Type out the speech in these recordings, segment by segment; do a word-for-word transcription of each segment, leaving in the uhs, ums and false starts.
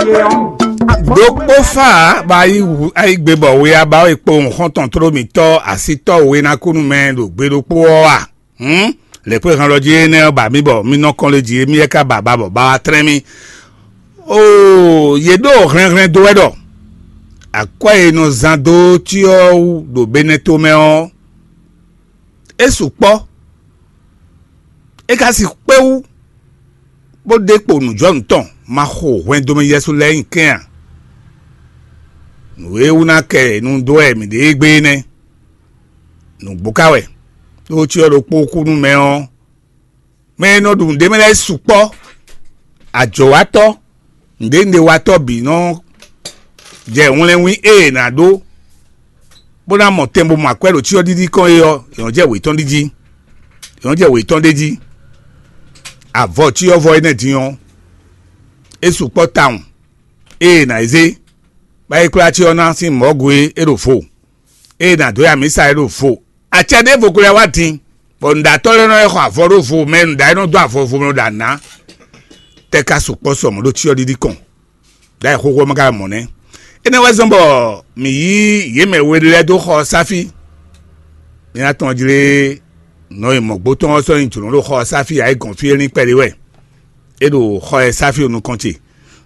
Ɖokpó fá bɔ ayigbe bɔ we aba e kpo xɔ́ntɔn tló mǐtɔn asítɔ́ we ná kú nú mɛ ɖo gbe ɖokpó ɔ́ a? Hǔn, lɛ̌kpéhan lɔ jí énɛ́ ɔ́ ba mì bɔ mì nɔ kɔn lé jí émí lɛ́ ka ba ba bɔ ba wá tlɛ́n mì. Oo, yě ɖo hlɛnhlɛn dó wɛ ɖɔ akwɛ́ e nɔ zán dó cyɔ wú ɖo Benɛ́to mɛ ɔ́, é sukpɔ́. É ka sixú kpé wú, bó ɖe kpo nǔjɔnǔ tɔn ma xo hwɛndomɛ Yɛsu lɛ́ɛ nyi kɛ́n ǎ. Nǔ e wú ná kɛ nu dó wɛ mǐ ɖe égbé é nɛ́. Nǔgbó ka wɛ, ɖó cyɔ ɖokpó kú nú mɛ ɔ́, mɛ e nɔ ɖu nǔɖé mɛ lɛ́ɛ sukpɔ́. Ajɔ̌watɔ́, nǔɖénúɖéwatɔ́ bǐ nɔ jɛ wlɛ́nwín e è nǎ ɖó bó ná mɔ tɛn bó mɔ akwɛ́ ɖo cyɔ ɖiɖi kɔn é ɔ́, è nɔ jɛ wětɔn ɖi jí. È nɔ jɛ wětɔn ɖé jí. Avɔ cyɔ́vɔ énɛ́ din ɔ́, é sukpɔ́ tawun. Ée è nǎ yi zé, bá yi kplá cyɔ ná sín mɔ̌gu é é ɖo vo. Ée è nǎ dó ya mǐ sa é ɖo vo. Acɛ ɖěvo ko lɛ́ wá din, bɔ nǔɖatɔ́ lɛ́ɛ nɔ yi xɔ avɔ ɖó vo mɛ, nǔɖa e nɔ dó avɔ vo mɛ ɖo ɖa ná. Tɛ́ ka sukpɔ́ sɔ mɔ̌ ɖo cyɔ ɖiɖi kɔn, ɖ'ayǐ xóxó ɔ́ mɛ ka mɔ nɛ́. Énɛ́ wɛ zɔ́n bɔ mǐ yí yě mɛ we lɛ́ɛ dó xɔ ɔ́ sá fí. Mǐ ná tɔn jlé nɔ e mɔ̌gbó tɔn ɔ́ sɔ́ nyi jlǒ ɖo xɔ ɔ́ sá fí ǎ é gɔn fí é lín kpɛɖé wɛ. É ɖo xɔ e sá fí ɖo nukɔn ce,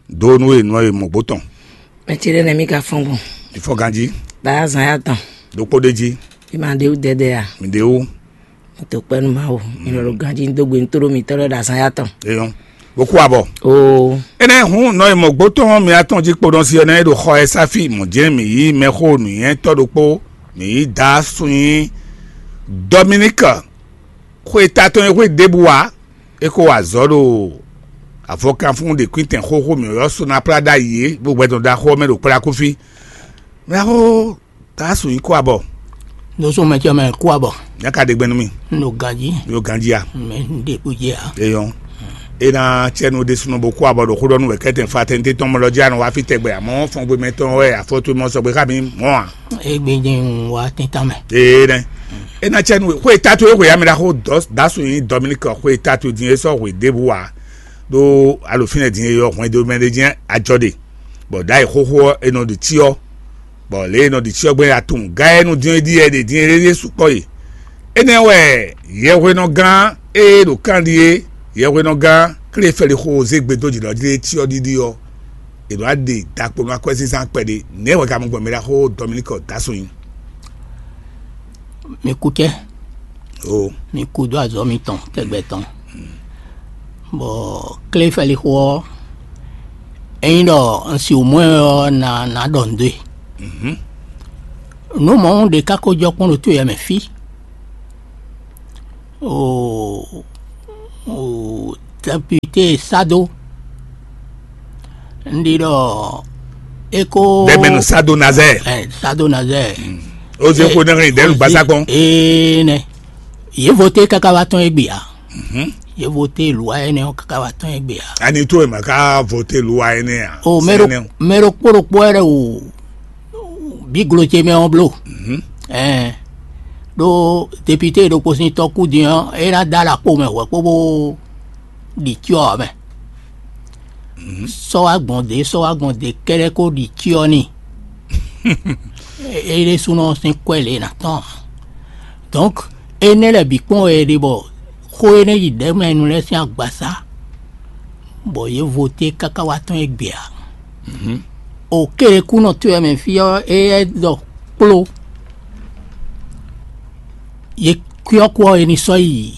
dó nú e nɔ e mɔ̌gbó tɔn. Mɛ ce ɖé nɛ́ mì ka fɔ́n gbɔn. Mǐ fɔ́n ganjí. Bǎ azǎn ya tɔn. Ɖokpó ɖé jí. Mì ma ɖe wú dɛdɛ a? Mǐ ɖe wú. Mì to kpɛ́ nú Mawu. Mì lɔ ɖo ganjí dó gbe nú tóɖó mǐtɔn lɛ́ɛ ɖo azǎn ya tɔn. Eyɔn. Bó kú abɔ. Oo. Énɛ́ hǔn nɔ e mɔ̌gbó tɔn mǐ atɔn jí kpo nɔ si ɔ́ nɛ́ ɖo xɔ e sá fí mɔ̌ jɛ́n mǐ yí mɛxó nǔnywɛ́tɔ́ ɖokpó, mǐ yí Dǎ Sunnyí Dɔminíki. Xwe ta tɔn e xwé ɖěbǔ ǎ, é ko wa azɔ̌ ɖo avɔkanfún ɖě kwíntɛn xóxó mǐ ylɔ́ Sonaplá ɖ'ayǐ é, bó gbɛtɔn ɖaxó ɔ́ mɛ ɖo kplá kú fí. Mɛxó Dǎ Sunnyí kú abɔ. Nú sún mɛ ce mɛ kú abɔ. Nyá ka ɖe gbɛn nú mì. Un ɖo ganjí. Mì ɖo ganjí a? Mɛ un ɖe kú jɛ a? Eyɔn. É ná cɛ nu ɖésúnɔ bó kú abɔ ɖo xó ɖɔ nú wɛ kɛ́tɛn fa tɛnte tɔn mɔ lɔ jí anɔ wá fí tɛgbɛ, amɔ̌ fɔngbe mɛtɔn wɛ afɔtu mɔ sɔgbe xá mi mɔ̌ a? Égbé jẹ́ un wá tíntan mɛ. Ee nɛ. É ná cɛ nu xwé tatu e xwe amɛ ɖaxó Dǎ Sunnyí Dɔminíki xwé tatu din é sɔ́ hwe ɖěbǔ wá ɖó alofínɛ din e yɔ hwɛndo mɛ ɖé jɛ́n ajɔ ɖe, bɔ ɖ'ayǐ xóxó ɔ́ è nɔ ɖi cyɔ, bɔ lě e è nɔ ɖi cyɔ gbɛn atun gǎ e nɔ din é ɖíe ɖe din é ɖe sukpɔ́ e. Énɛ́ wɛ yɛhwenɔgán e ɖo kanɖi é, yɛhwenɔgán Klefɛlixo zé gbe dó jǐ ɖɔ jí é cyɔ ɖiɖi ɔ́, è nɔ wá ɖe ɖakpo nú akwɛ́zínzán kpɛɖé. Nɛ̌ wɛ ka mɔ gbɔn mɛ ɖaxó Dɔminíki Dǎ Sunnyí? Mi kú cɛ. O. Mi kú dó azɔ̌ mitɔn tɛgbɛ tɔn. Bɔ Klefɛlixo ɔ́, ényí ɖɔ un si wǔ mɔ ɛ ɔ́, na na ɖɔ nǔ dó e. Mhm. Nǔ mɔ̌ ɖé ka ko jɔ kpɔ́n ɖo to yɛ mɛ fí. O, o, député Sado. Un ɖi ɖɔ é ko Dɛmɛnu Sado Nazɛɛ. Ɛ, Sado Nazɛɛ. Ó zé xó nɛ́ hɛn dɛ̌lu gbasá kpɔ́n. Ee nɛ. Yě voté káká wá tɔ́n égbé ǎ. Mhm. Yě voté lǔwa énɛ́ ɔ́ káká wá tɔ́n égbé ǎ. Ani tó è mà ká voté lǔwa énɛ́ ǎ? O mɛ ɖo Sɛnɛnɛ o. Mɛ ɖokpó ɖokpó wɛ ɖe o bí glo ce mɛ ɔ́ bló. Mhm. Ɛɛ ɖó député ɖokpó sín tɔ́ kú din ɔ́, é ná dó alɔ kpo mɛ hwɛ̌ kpó bó ɖi cyɔ ɔ́ mɛ. Mhm. Sɔ́ wá gbɔn dě, sɔ́ wá gbɔn dě kɛ́ɖɛ́ kó ɖi cyɔ n'i. É ɖésúnɔ sín kwɛ́ lě ná tɔn ǎ. Donc énɛ́ lɛ́ɛ bǐ kpɔ́n wɛ è ɖe bɔ xó énɛ́ yi ɖɛ̌mɛnu lɛ́ɛ sín agbasá, bɔ yě voté káká wá tɔ́n égbé ǎ. Mhm. O kéɖekúnɔ towe mɛ fí ɔ́, éyɛ́ ɖɔ kpló. Yě kwɛ́ ɔ́ kú ɔ́, è ní sɔ́ yi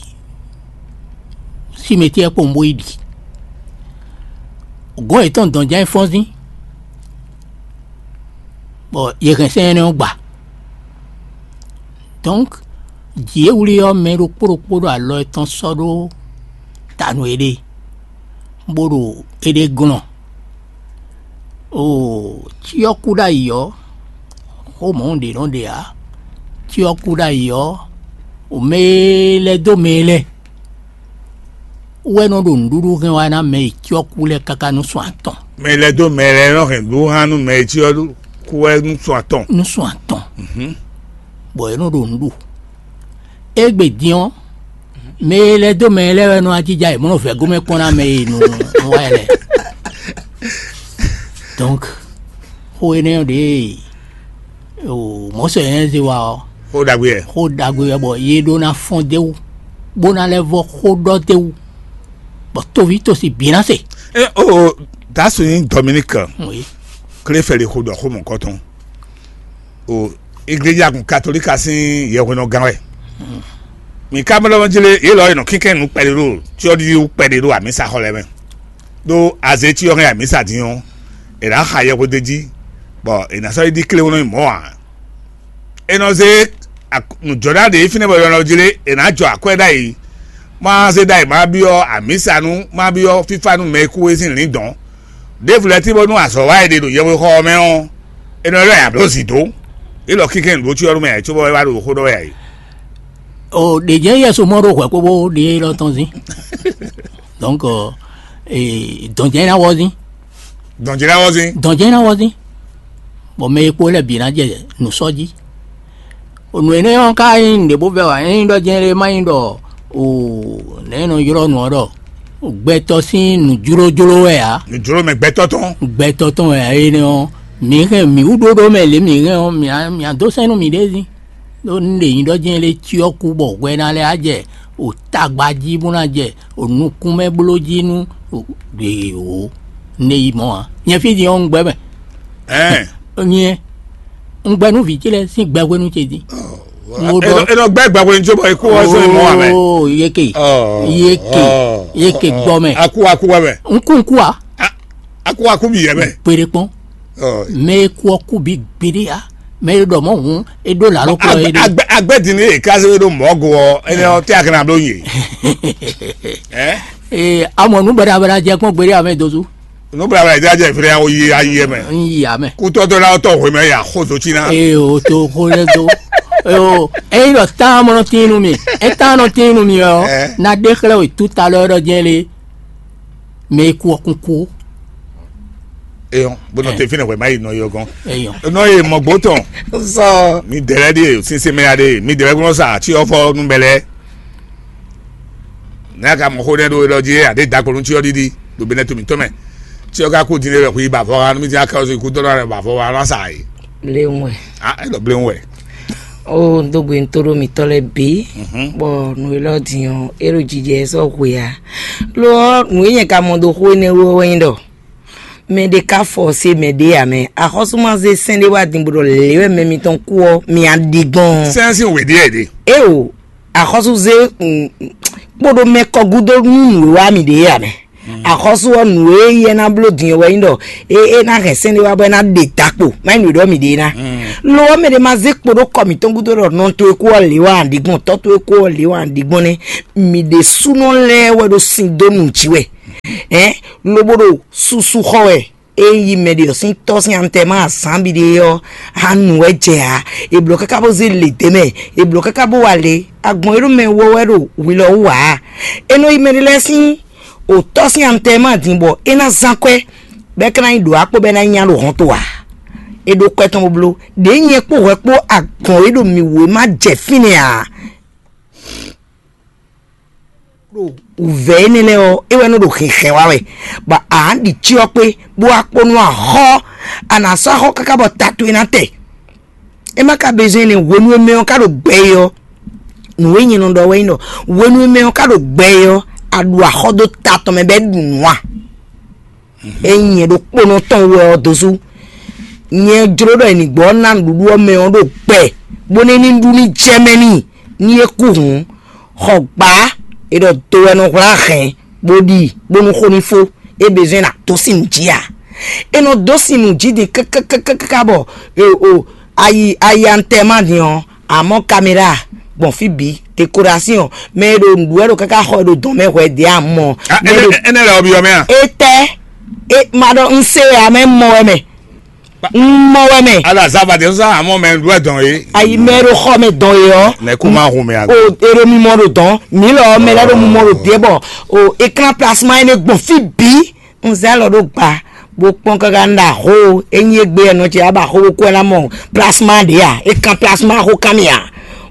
simɛtiɛ kpowun bó yi ɖi. Gɔ̌n yětɔn dɔn jɛ́n fɔ́nzín, bɔ yě hɛn sɛ́n énɛ́ ɔ́ gba. Donc jǐ e wlí ɔ́, mɛ ɖokpó ɖokpó ɖo alɔ yětɔn sɔ́ ɖó ta nú éɖée, bó ɖo éɖée glɔ́n. Oo, cyɔ kú ɖ'ayǐ ɔ́, xó mɔ̌ ɖě nɔ ɖe ǎ. Cyɔ kú ɖ'ayǐ ɔ́, o mɛ e lɛ́ dó mɛ e lɛ́ wɛ nɔ ɖo nǔɖuɖu hɛn wá ná mɛ e cyɔ kú lɛ́ɛ káká nú sɔn atɔn. Mɛ e lɛ́ dó mɛ lɛ́ɛ nɔ hɛn nǔɖuɖu hán nú mɛ e cyɔ kú wɛ nú sɔn atɔn. Nú sɔn atɔn. Mhm. Bɔ è nɔ ɖo nǔ ɖu. Égbé din ɔ́, mɛ e lɛ́ dó mɛ e lɛ́ɛ wɛ nɔ ajija e mɔ̌ nɔ vɛ̌ gomɛ kpɔ́n ná mɛ e nu wá ɛ lɛ́ɛ. Donc, xó énɛ́ ɔ́ ɖě o mɔ̌ sɔ yɛn zé wa ɔ́, Xó ɖagbe wɛ. Xó ɖagbe wɛ bɔ yé ɖó ná fɔ́n d'é wú, bó ná lɛ́ vɔ xó ɖɔ d'é wú, bɔ toví tosi bǐ ná se. E o, dasu nyí Dominique Oui. Kléfɛli xó ɖɔ xó mɔ̌kɔtɔn. O, igleja kun katolika sín yɛhwenɔgán wɛ. Mi ka mɔ lɔmɔ jlé yě lɔ e nɔ kínkɛn nǔ kpɛɖé ɖo cyɔ́ɖiɖi wú kpɛɖé ɖo amǐsa xɔ lɛ́ɛ mɛ. Ɖó azé cyɔ hɛn amǐsa din ɔ́, è nǎ xa yɛhweɖéjí, bɔ è nǎ sɔ́ yi ɖi kléwún nú mɔ̌ ǎ. È nɔ zé nǔjɔ́ɖá ɖě fínɛ́ bɔ è nɔ jlé è nǎ jɔ akwɛ́ ɖ'ayǐ, má zé ɖ'ayǐ má byɔ́ amǐsa nú má byɔ́ fífá nú mɛ e kú é sín lǐndɔ̌n. Ɖěvo lɛ́ɛ tí bónú azɔ̌ wa e ɖe ɖo yɛhwexɔ ɔ́ mɛ ɔ́, è nɔ ylɔ́ ɛ ablǒ zǐ dó. Élɔ́ kɛ́nkɛ́n nǔ ɖó cyɔ nú mɛ ǎ, cóbɔ é wá ɖo xó ɖɔ wɛ ǎ é. O ɖě jɛ́n Yɛsu mɔ ɖó hwɛ̌ kpóbó ɖě élɔ́ tɔn zín. Donc, dɔn jɛ́n ná wɔ zín. Dɔn jɛ́n ná wɔ zín. Dɔn jɛ́n ná wɔ zín. Bɔ mɛ e kpo lɛ́ɛ bǐ ná jɛ nǔ sɔ́ jí. Nǔ énɛ́ ɔ́ ka nyí nǔɖé bó vɛ́ ǎ, é nyí ɖɔ jɛ́n lé má nyí ɖɔ o nɛ̌ nɔ ylɔ́ nǔ ɔ́ ɖɔ gbɛtɔ́ sín nǔjlójló wɛ ǎ. Nǔjló mɛ gbɛtɔ́ tɔn. Gbɛtɔ́ tɔn wɛ ǎ énɛ́ ɔ́, mǐ hɛn mǐ wú ɖóɖó mɛ lě mǐ hɛn ɔ́, mǐ á- mǐ á dó sɛ́n nú mǐɖée zín. Ɖó un ɖe nyǐɖɔ jɛ́n lé cyɔ kú bɔ hwɛ ná lɛ́ á jɛ o tagba jí bó ná jɛ o nukún mɛ bló jí nú o ɖe o ne yi mɔ̌ ǎ. Nyɛ fí din ɔ́, un gbɛ́ mɛ. Ɛɛ. Nyɛ un gbɛ́ nú vǐ ce lɛ́ɛ sín gbɛhwenu ce din. Mo ɖɔ- Enɔ gbɛ gbɛhwenu tso bɔ ikú wɔ sɔ imɔ amɛ. Oo, yeke. Yeke. Yeke gbɔ mɛ. Aku aku wɛ mɛ. Nkú nkú a. Aku aku bi yɛ mɛ. Kpeɖe kpɔn. Mɛ e kú ɔ́ kú bí gbeɖé a. Mɛ e ɖɔ mɔ̌ hǔn é ɖó lǎló kplɔ́ é ɖe. Agbɛ din ní èká sɛ ɖó mɔ̌ go ɔ, ɛnɛ ɔ tɛ akɛnɛ abló nyi. Ee, amɔ nú bɛɖabɛɖa jɛ kpɔn gbeɖé amɛ dozu. Nú bɛɖabɛɖa jɛ jɛ fɛnɛ awo yi ayi mɛ. N yi amɛ. Kútɔ́ dó ná tɔ hwemɛ ya xó zo cí ná. Ee, o to xó lɛ do. Ee, o eyi ɖɔ tán mɔ nɔ tín nú mi, e tán nɔ tín nú mi ɔ, na ɖe xlɛ o tuta lɔ ɖɔ jɛ le. Mɛ e kú ɔ́ kún kú. Eyɔn, bó nɔ te fínɛ́ hwɛ má yi nɔ yɔ gɔn. Eyɔn. Nɔ ye mɔ gbó tɔn. Sɔ. Mi dɛrɛ ɖi sinsɛn mɛ ya ɖe, mi dɛrɛ gbɔn sa tí ɔfɔ nú bɛlɛ. N'a ka mɔ xó nɛ ɖo elɔ jí a ɖe dakponu tí ɔ ɖiɖi ɖo bɛnɛ to mǐtɔn mɛ. Tí ɔ ka kú din lɛ hu yi ba vɔ ha nú mi ti aka ɔsɔ ikú tɔn na ba vɔ ha na sa yi. Bléwún wɛ. Ah, e ɖɔ bléwún wɛ. Ó, un dó gbe un tó ɖó mitɔ́ lɛ́ɛ bǐ, bɔ nǔ élɔ́ din ɔ́, é ɖo jijɛ sɔ́ hwe ǎ. Lo ɔ́, nǔ e nyɛ ka mɔ dó xó énɛ́ wú ɔ́ wɛ nyí ɖɔ mɛ ɖé ka fɔ se mɛ ɖé ǎ mɛ. Axɔ́sú ma zé sɛ́n ɖé wá din bó ɖɔ lě wɛ mɛ mitɔn kú ɔ́, mi a ɖi gbɔn. Sɛ́n sín wě ɖíe ɖe. Éo, axɔ́sú zé kpóɖó mɛ kɔ gúdo nú nǔ e wá mi ɖě ǎ mɛ. Axɔ́sú ɔ́, nǔ e yɛ ná bló din ɔ́ wɛ nyí ɖɔ é é ná hɛn sɛ́n ɖé wá bɔ é ná ɖe dakpo, má nyí nǔ e ɖɔ mi ɖe ná. Lo ɔ́, mɛ ɖé ma zé kpo ɖó kɔ mǐtɔn gúdo ɖɔ nɔ towe kú ɔ́ lě wá ɖi gbɔn, tɔ́ towe kú ɔ́ lě wá ɖi gbɔn nɛ́. Mi ɖésúnɔ lɛ́ɛ wɛ ɖo sin dó nǔ jí wɛ, ɛ̌, lobo ɖo susu xɔ wɛ. Ényí mɛ ɖě ɔ́ sín tɔ́ sín antɛ́mɛ azǎn bǐ ɖe ɔ́, á nu wɛ jɛ ǎ. È blǒ káká bó zé lě dó mɛ, è blǒ káká bó wa lě. Agbɔ̌n e ɖo mɛ wɔ wɛ ɖo hwi lɔ wú ǎ. É nɔ yi mɛ ɖé lɛ́ɛ sín òtɔ́ sín antɛ́mɛ din bɔ é ná zán kwɛ́, bɔ é ka ná yi ɖǒ akpó bɔ é ná nya ɖo hɔn to ǎ. É ɖó kwɛ́ tɔn bó bló. Ɖěe nyɛ kpó hwɛ kpó agbɔ̌n e ɖo mǐ wú é má jɛ fínɛ́ ǎ. Ɖo wǔvɛ́ énɛ́ lɛ́ɛ ɔ́, é wɛ nɔ ɖo hɛnhɛn wa wɛ, bɔ a nǎ ɖi cyɔ kpé, bó wá kpó nú axɔ́, a nǎ sɔ́ axɔ́ káká bɔ ta towe ná tɛ. É má ka bezɔn énɛ́, hwenu e mɛ ɔ́ ka ɖo gbɛ é ɔ́, nǔ e nyɛ nɔ ɖɔ wɛ nyí ɖɔ hwenu e mɛ ɔ́ ka ɖo gbɛ é ɔ́, a ɖu axɔ́ dó ta tɔn mɛ bɔ é ɖu nǔ a? Ényí nyɛ ɖokpónɔ tɔn wɛ ɔ́ dó sú. Nyɛ jló ɖɔ è nǐ gbɔ ná nǔɖuɖu ɔ́ mɛ ɔ́ ɖo gbɛ, bónú é ní ɖu ní jɛ mɛ n'i, ní é kú hǔn. Xɔ gbǎ, è ɖɔ do wɛ nɔ hwlá hɛn, bó ɖi, bónú xó ní fó, é bezɔ́n ná dó sin nǔ jí ǎ. È nɔ dó sin nǔ jí din káká bɔ ayi ayi antɛ́ ma din ɔ́, amɔ̌ kaméra gbɔn fí bǐ, dekoration, mɛ e ɖo nǔɖuɖu wɛ ɖo káká xɔ e ɖo dɔn mɛ hwɛ ɖě a mɔ. Mɛ e ɖo Énɛ́ lɛ ɔ́ byɔ́ mɛ a? Etɛ́, e ma ɖɔ un se wɛ a mɛ mɔ wɛ mɛ, un mɔ wɛ mɛ. Ala zava de sɔsɔ amɔ mɛ ɖu dɔn ye. Ayi mɛ ɖo xɔ mɛ dɔn ye ɔ. Nɛ kó má hun mɛ a. O e ɖo mimɔ ɖo dɔn mi lɔ mɛ lɛ ɖo mimɔ ɖo diɛ bɔ o ekran plasma yi ne gbɔn fi bi. Un zɛ alɔ ɖo gba bó kpɔn káká un ɖo axó, ényí égbé ɛ nɔ ce aba axó bó kú ɛ ná mɔ plasma ɖě a? É kan plasma axó kan mì a?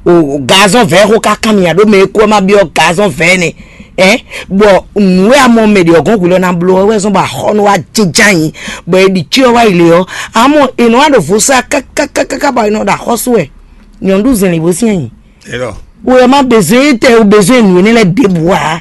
O gazɔn vɛ̌ xó ká kan mì a? Ɖó mɛ e kú ɔ́ má byɔ́ gazɔn vɛ̌ nɛ. Ɛ bɔ nǔ e a mɔ mɛ ɖě ɔ́ gɔ́n hwi lɔ ná bló ɔ́ wɛ zɔ́n bɔ axɔ́nú wá jínjɔ́n ayǐ, bɔ è ɖi cyɔ wá yi lě ɔ́, amɔ è nɔ wá ɖo vo sá kákákáká bɔ è nɔ ɖo axɔ́sú wɛ. Nyɔ̌nu ɖu zɛ̌nlǐn bó syɛ́n ayǐ. Elɔ. Wɛ má bezɔn tɛ o bezɔn nǔ énɛ́ lɛ́ɛ ɖěbǔ ǎ.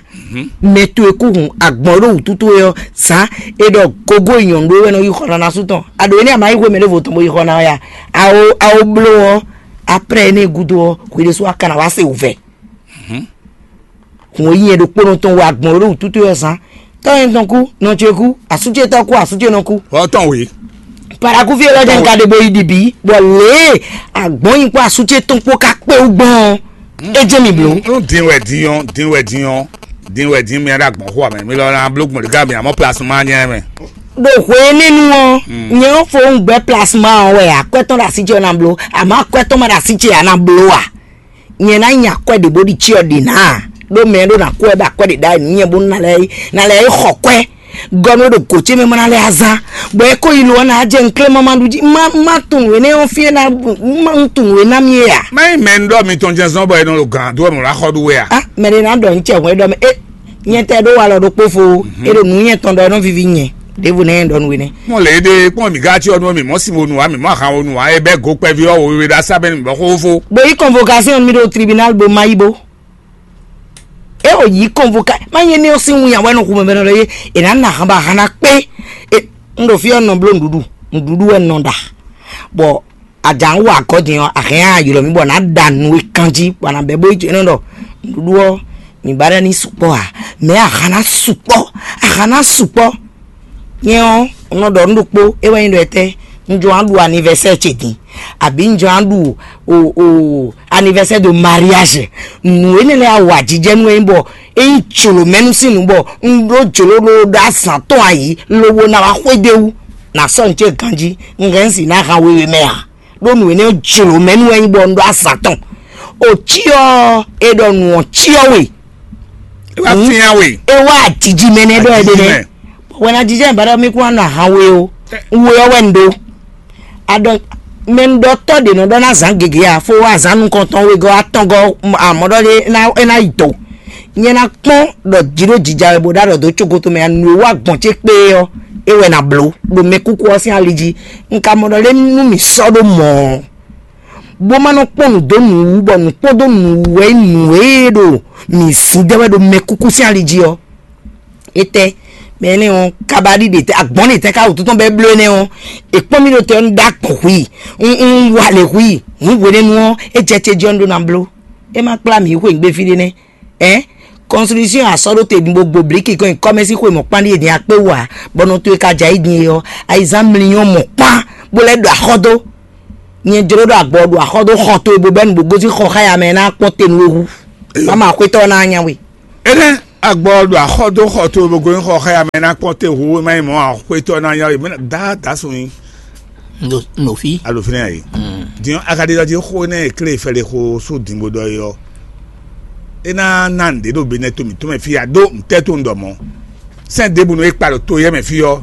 Mɛ towe kú hun agbɔ̌n ɖo wǔtu towe ɔ́, zǎn è ɖɔ gogo yi nyɔ̌nu ɖó wɛ nɔ yi xɔ ná ná sú tɔn. A ɖǒ énɛ́ a ma yi xwé mɛ ɖěvo tɔn bó yi xɔ ná ɔ́ ya? A o a o bló ɔ́, aprɛ́ énɛ́ gúdo ɔ́, hwi ɖésú a ka ná wá se wǔvɛ́. Hǔn e nyɛ ɖokpónɔ tɔn wɛ agbɔ̌n ɖo wǔtútú ɔ́ zán. Tɔ́ nyɛ tɔn kú, nɔ ce kú, asú ce tɔn kú, asú ce nɔ kú. Ɔ́ tɔn wě. Parakúfí élɔ́ jẹ́ nka ɖe bo yi ɖibi, bɔ lě e agbɔ̌n nyi kpó asú ce tɔn kpó ka kpé wú gbɔn ɔ́, é jẹ́ mi blǒ. Nú din wɛ din ɔ́, din wɛ din ɔ́, din wɛ din mi ɖo agbɔ̌n xo amɛ, mi lɔ ná bló gbɔn ɖi ká mi amɔ plasma nyɛ mɛ. Ɖo hwe énɛ́ nu ɔ́, nyɛ ɔ́ fo un gbɛ plasma ɔ́ wɛ akwɛ́ tɔn ɖo así ce ɔ́ ná bló, àmọ́ akwɛ́ tɔn ma ɖo así ce ǎ ná bló a? Nyɛ ná nya akwɛ́ ɖě bó ɖi cyɔ ɖě ná a? Ɖó mɛ e ɖó ná kú wɛ bɔ akwɛ́ ɖě ɖ'ayǐ nú nyɛ bónú ná lɛ́ ná lɛ́ xɔ kwɛ́ gɔ́ nú é ɖo gǒ ce mɛ bó ná lɛ́ azán, bɔ é ko yi lo ɔ́ ná jɛ nklé ma ma ɖu jí. Má má tunwun énɛ́ ɔ́ fí é ná má un tunwun é ná mì é a? Má nyí mɛ un ɖɔ mitɔn jɛ́n zɔ́n bɔ è nɔ ɖo gǎn dó wɛ mɔ̌ ná xɔ ɖu wɛ a? Á mɛ ɖé ná ɖɔ nú cɛ hwɛ́ ɖɔ mɛ é nyɛ tɛ ɖó walɔ ɖokpó fo, é ɖo nǔ nyɛ tɔn ɖɔ é nɔ víví nyɛ ɖěvo nɛ́ nyɛ ɖɔ nú we nɛ́. Mɔ lě ɖe kpɔ́n mǐ gá cyɔ nú mǐ mɔ sin wonu ǎ, mǐ mɔ ahan wonu ǎ, é bɛ́ go kpɛví ɔ́ wěwé ɖo asá bɛ́ nú mǐ bɔ xó fó. Bo yí convocation mi ɖo tribunal bo ma yí bo. É o yí convocation ma nyɛ ní ɔ́ sín wun yàn wɛ nɔ xumɛ mɛ nɔ lɔ yé. È nǎ na ahan ba ahan ná kpé. E un ɖo fí ɔ́ nɔ bló nǔɖuɖu, nǔɖuɖu wɛ nɔ ɖa. Bɔ a jǎ ń wa agɔ́ din ɔ́, a hɛn á ylɔ̌ mì bɔ nǎ ɖa nǔ e kanjí bɔ a nǎ bɛ́ bó yi jɛ nɔ ɖɔ nǔɖuɖu ɔ́, mǐ ba ɖɔ ní sukpɔ́ ǎ, mɛ̌ a hǎn ná sukpɔ́? A hǎn ná sukpɔ́. Nyɛ ɔ́, un nɔ ɖɔ nǔ ɖokpó, é wɛ nyí ɖɔ étɛ́, un jɔ wá ɖu anivɛsɛ́ɛ ce din, abǐ un jɔ wá ɖu o o anivɛsɛ́ɛ de mariage. Nǔ énɛ́ lɛ́ɛ a wa jijɛ nú é nyí bɔ é nyí jlǒmɛnu sín nǔ bɔ un ɖó jlǒ ɖó ɖó azǎn tɔn ayǐ, lobo ná wá xwedó wú, nǎ sɔ́ nǔ ce ganjí, un hɛn un si ná han wewe mɛ ǎ. Ɖó nǔ énɛ́ jlǒ mɛ nú wɛ nyí bɔ un ɖó azǎn tɔn. O cyɔ e ɖɔ nǔ ɔ́ cyɔ we. É wá fyán we. É wá jiji mɛ nɛ́ ɖɔ é ɖe nɛ́. Wɛn a jijɛ ba ɖɔ mi kún anɔ ahan we o. We ɔ́ wɛ un ɖó. Aɖɔ mɛ un ɖɔ tɔ́ ɖě nɔ ɖɔ ná zǎn gěgé a fó wá zǎn nukɔntɔn wegɔ́ atɔngɔ́ amɔ̌ ɖɔ ɖé é ná yi do. Nyɛ ná kpɔ́n ɖɔ jǐ ɖo jija wɛ bó ɖó aɖɔ dó cogoto mɛ a nǔ e wá gbɔn ce kpé ɔ́, é wɛ ná bló ɖo mɛ kúkú ɔ́ sín ali jí. Un ka mɔ ɖɔ lé nú mǐ sɔ́ ɖó mɔ̌ ɔ́, bó má nɔ kpɔ́n nǔ dó nǔ wú, bɔ nǔ kpɔ́n dó nǔ wú wɛ nyí nǔ e ɖo mǐ zín dɛ́ wɛ ɖo mɛ kúkú sín ali jí ɔ́. Étɛ́ mɛ énɛ́ ɔ́, kabaɖi ɖe tɛ́, agbɔ̌n ɖe tɛ́ ká wǔtu tɔn bɔ é bló énɛ́ ɔ́? È kpɔ́n mì ɖo te ɔ́, un ɖó agbɔ̌n hu i, un un wa lě hu i, hǔn hwenɛ́nu ɔ́, é jɛ ce jí ɔ́, un ɖó ná bló. É má kplá mǐ yi xweyǐgbe fí ɖé nɛ́. Ɛ̌, constitution a sɔ́ ɖó te din bó gbo blǐki kɔn nyi kɔ́mɛ́sí xwe mɔ̌kpán ɖíe din akpé wú ǎ, bɔ nɔ towe ka jɛ ayí din é ɔ́, ayizán mlínyɔ́ mɔ̌kpán bó lɛ́ ɖo axɔ́ dó. Nyɛ jló ɖo agbɔ ɖo axɔ́ dó xɔ towe bó bɛ́ nǔ bó gosín xɔ xá ya mɛ ná kpɔ́n te nú we hú. Má ma xwétɔ́ ná nya we. Énɛ́ agbɔ ɖo axɔ́ dó xɔ towe bó gosín xɔ xá ya mɛ ná kpɔ́n te hú, é má nyí mɔ̌ ǎ, xwétɔ́ ná nya we, mɛ ná dá dǎ sun nyi. Nɔ fi. Alo fínɛ́ yě. Din ɔ́, a ka ɖi ɖɔ jí xó énɛ́ e klé fɛ́ɖé xó sú dǐngbó ɖɔ é ɔ́, é ná ná nǔɖé ɖo be nɛ́ to mǐtɔn mɛ fí a ɖó ntɛ́ to un ɖɔ mɔ̌. Sɛ́n ɖěbǔ nɔ é kpa ɖo to éyɛ́ mɛ fí ɔ́,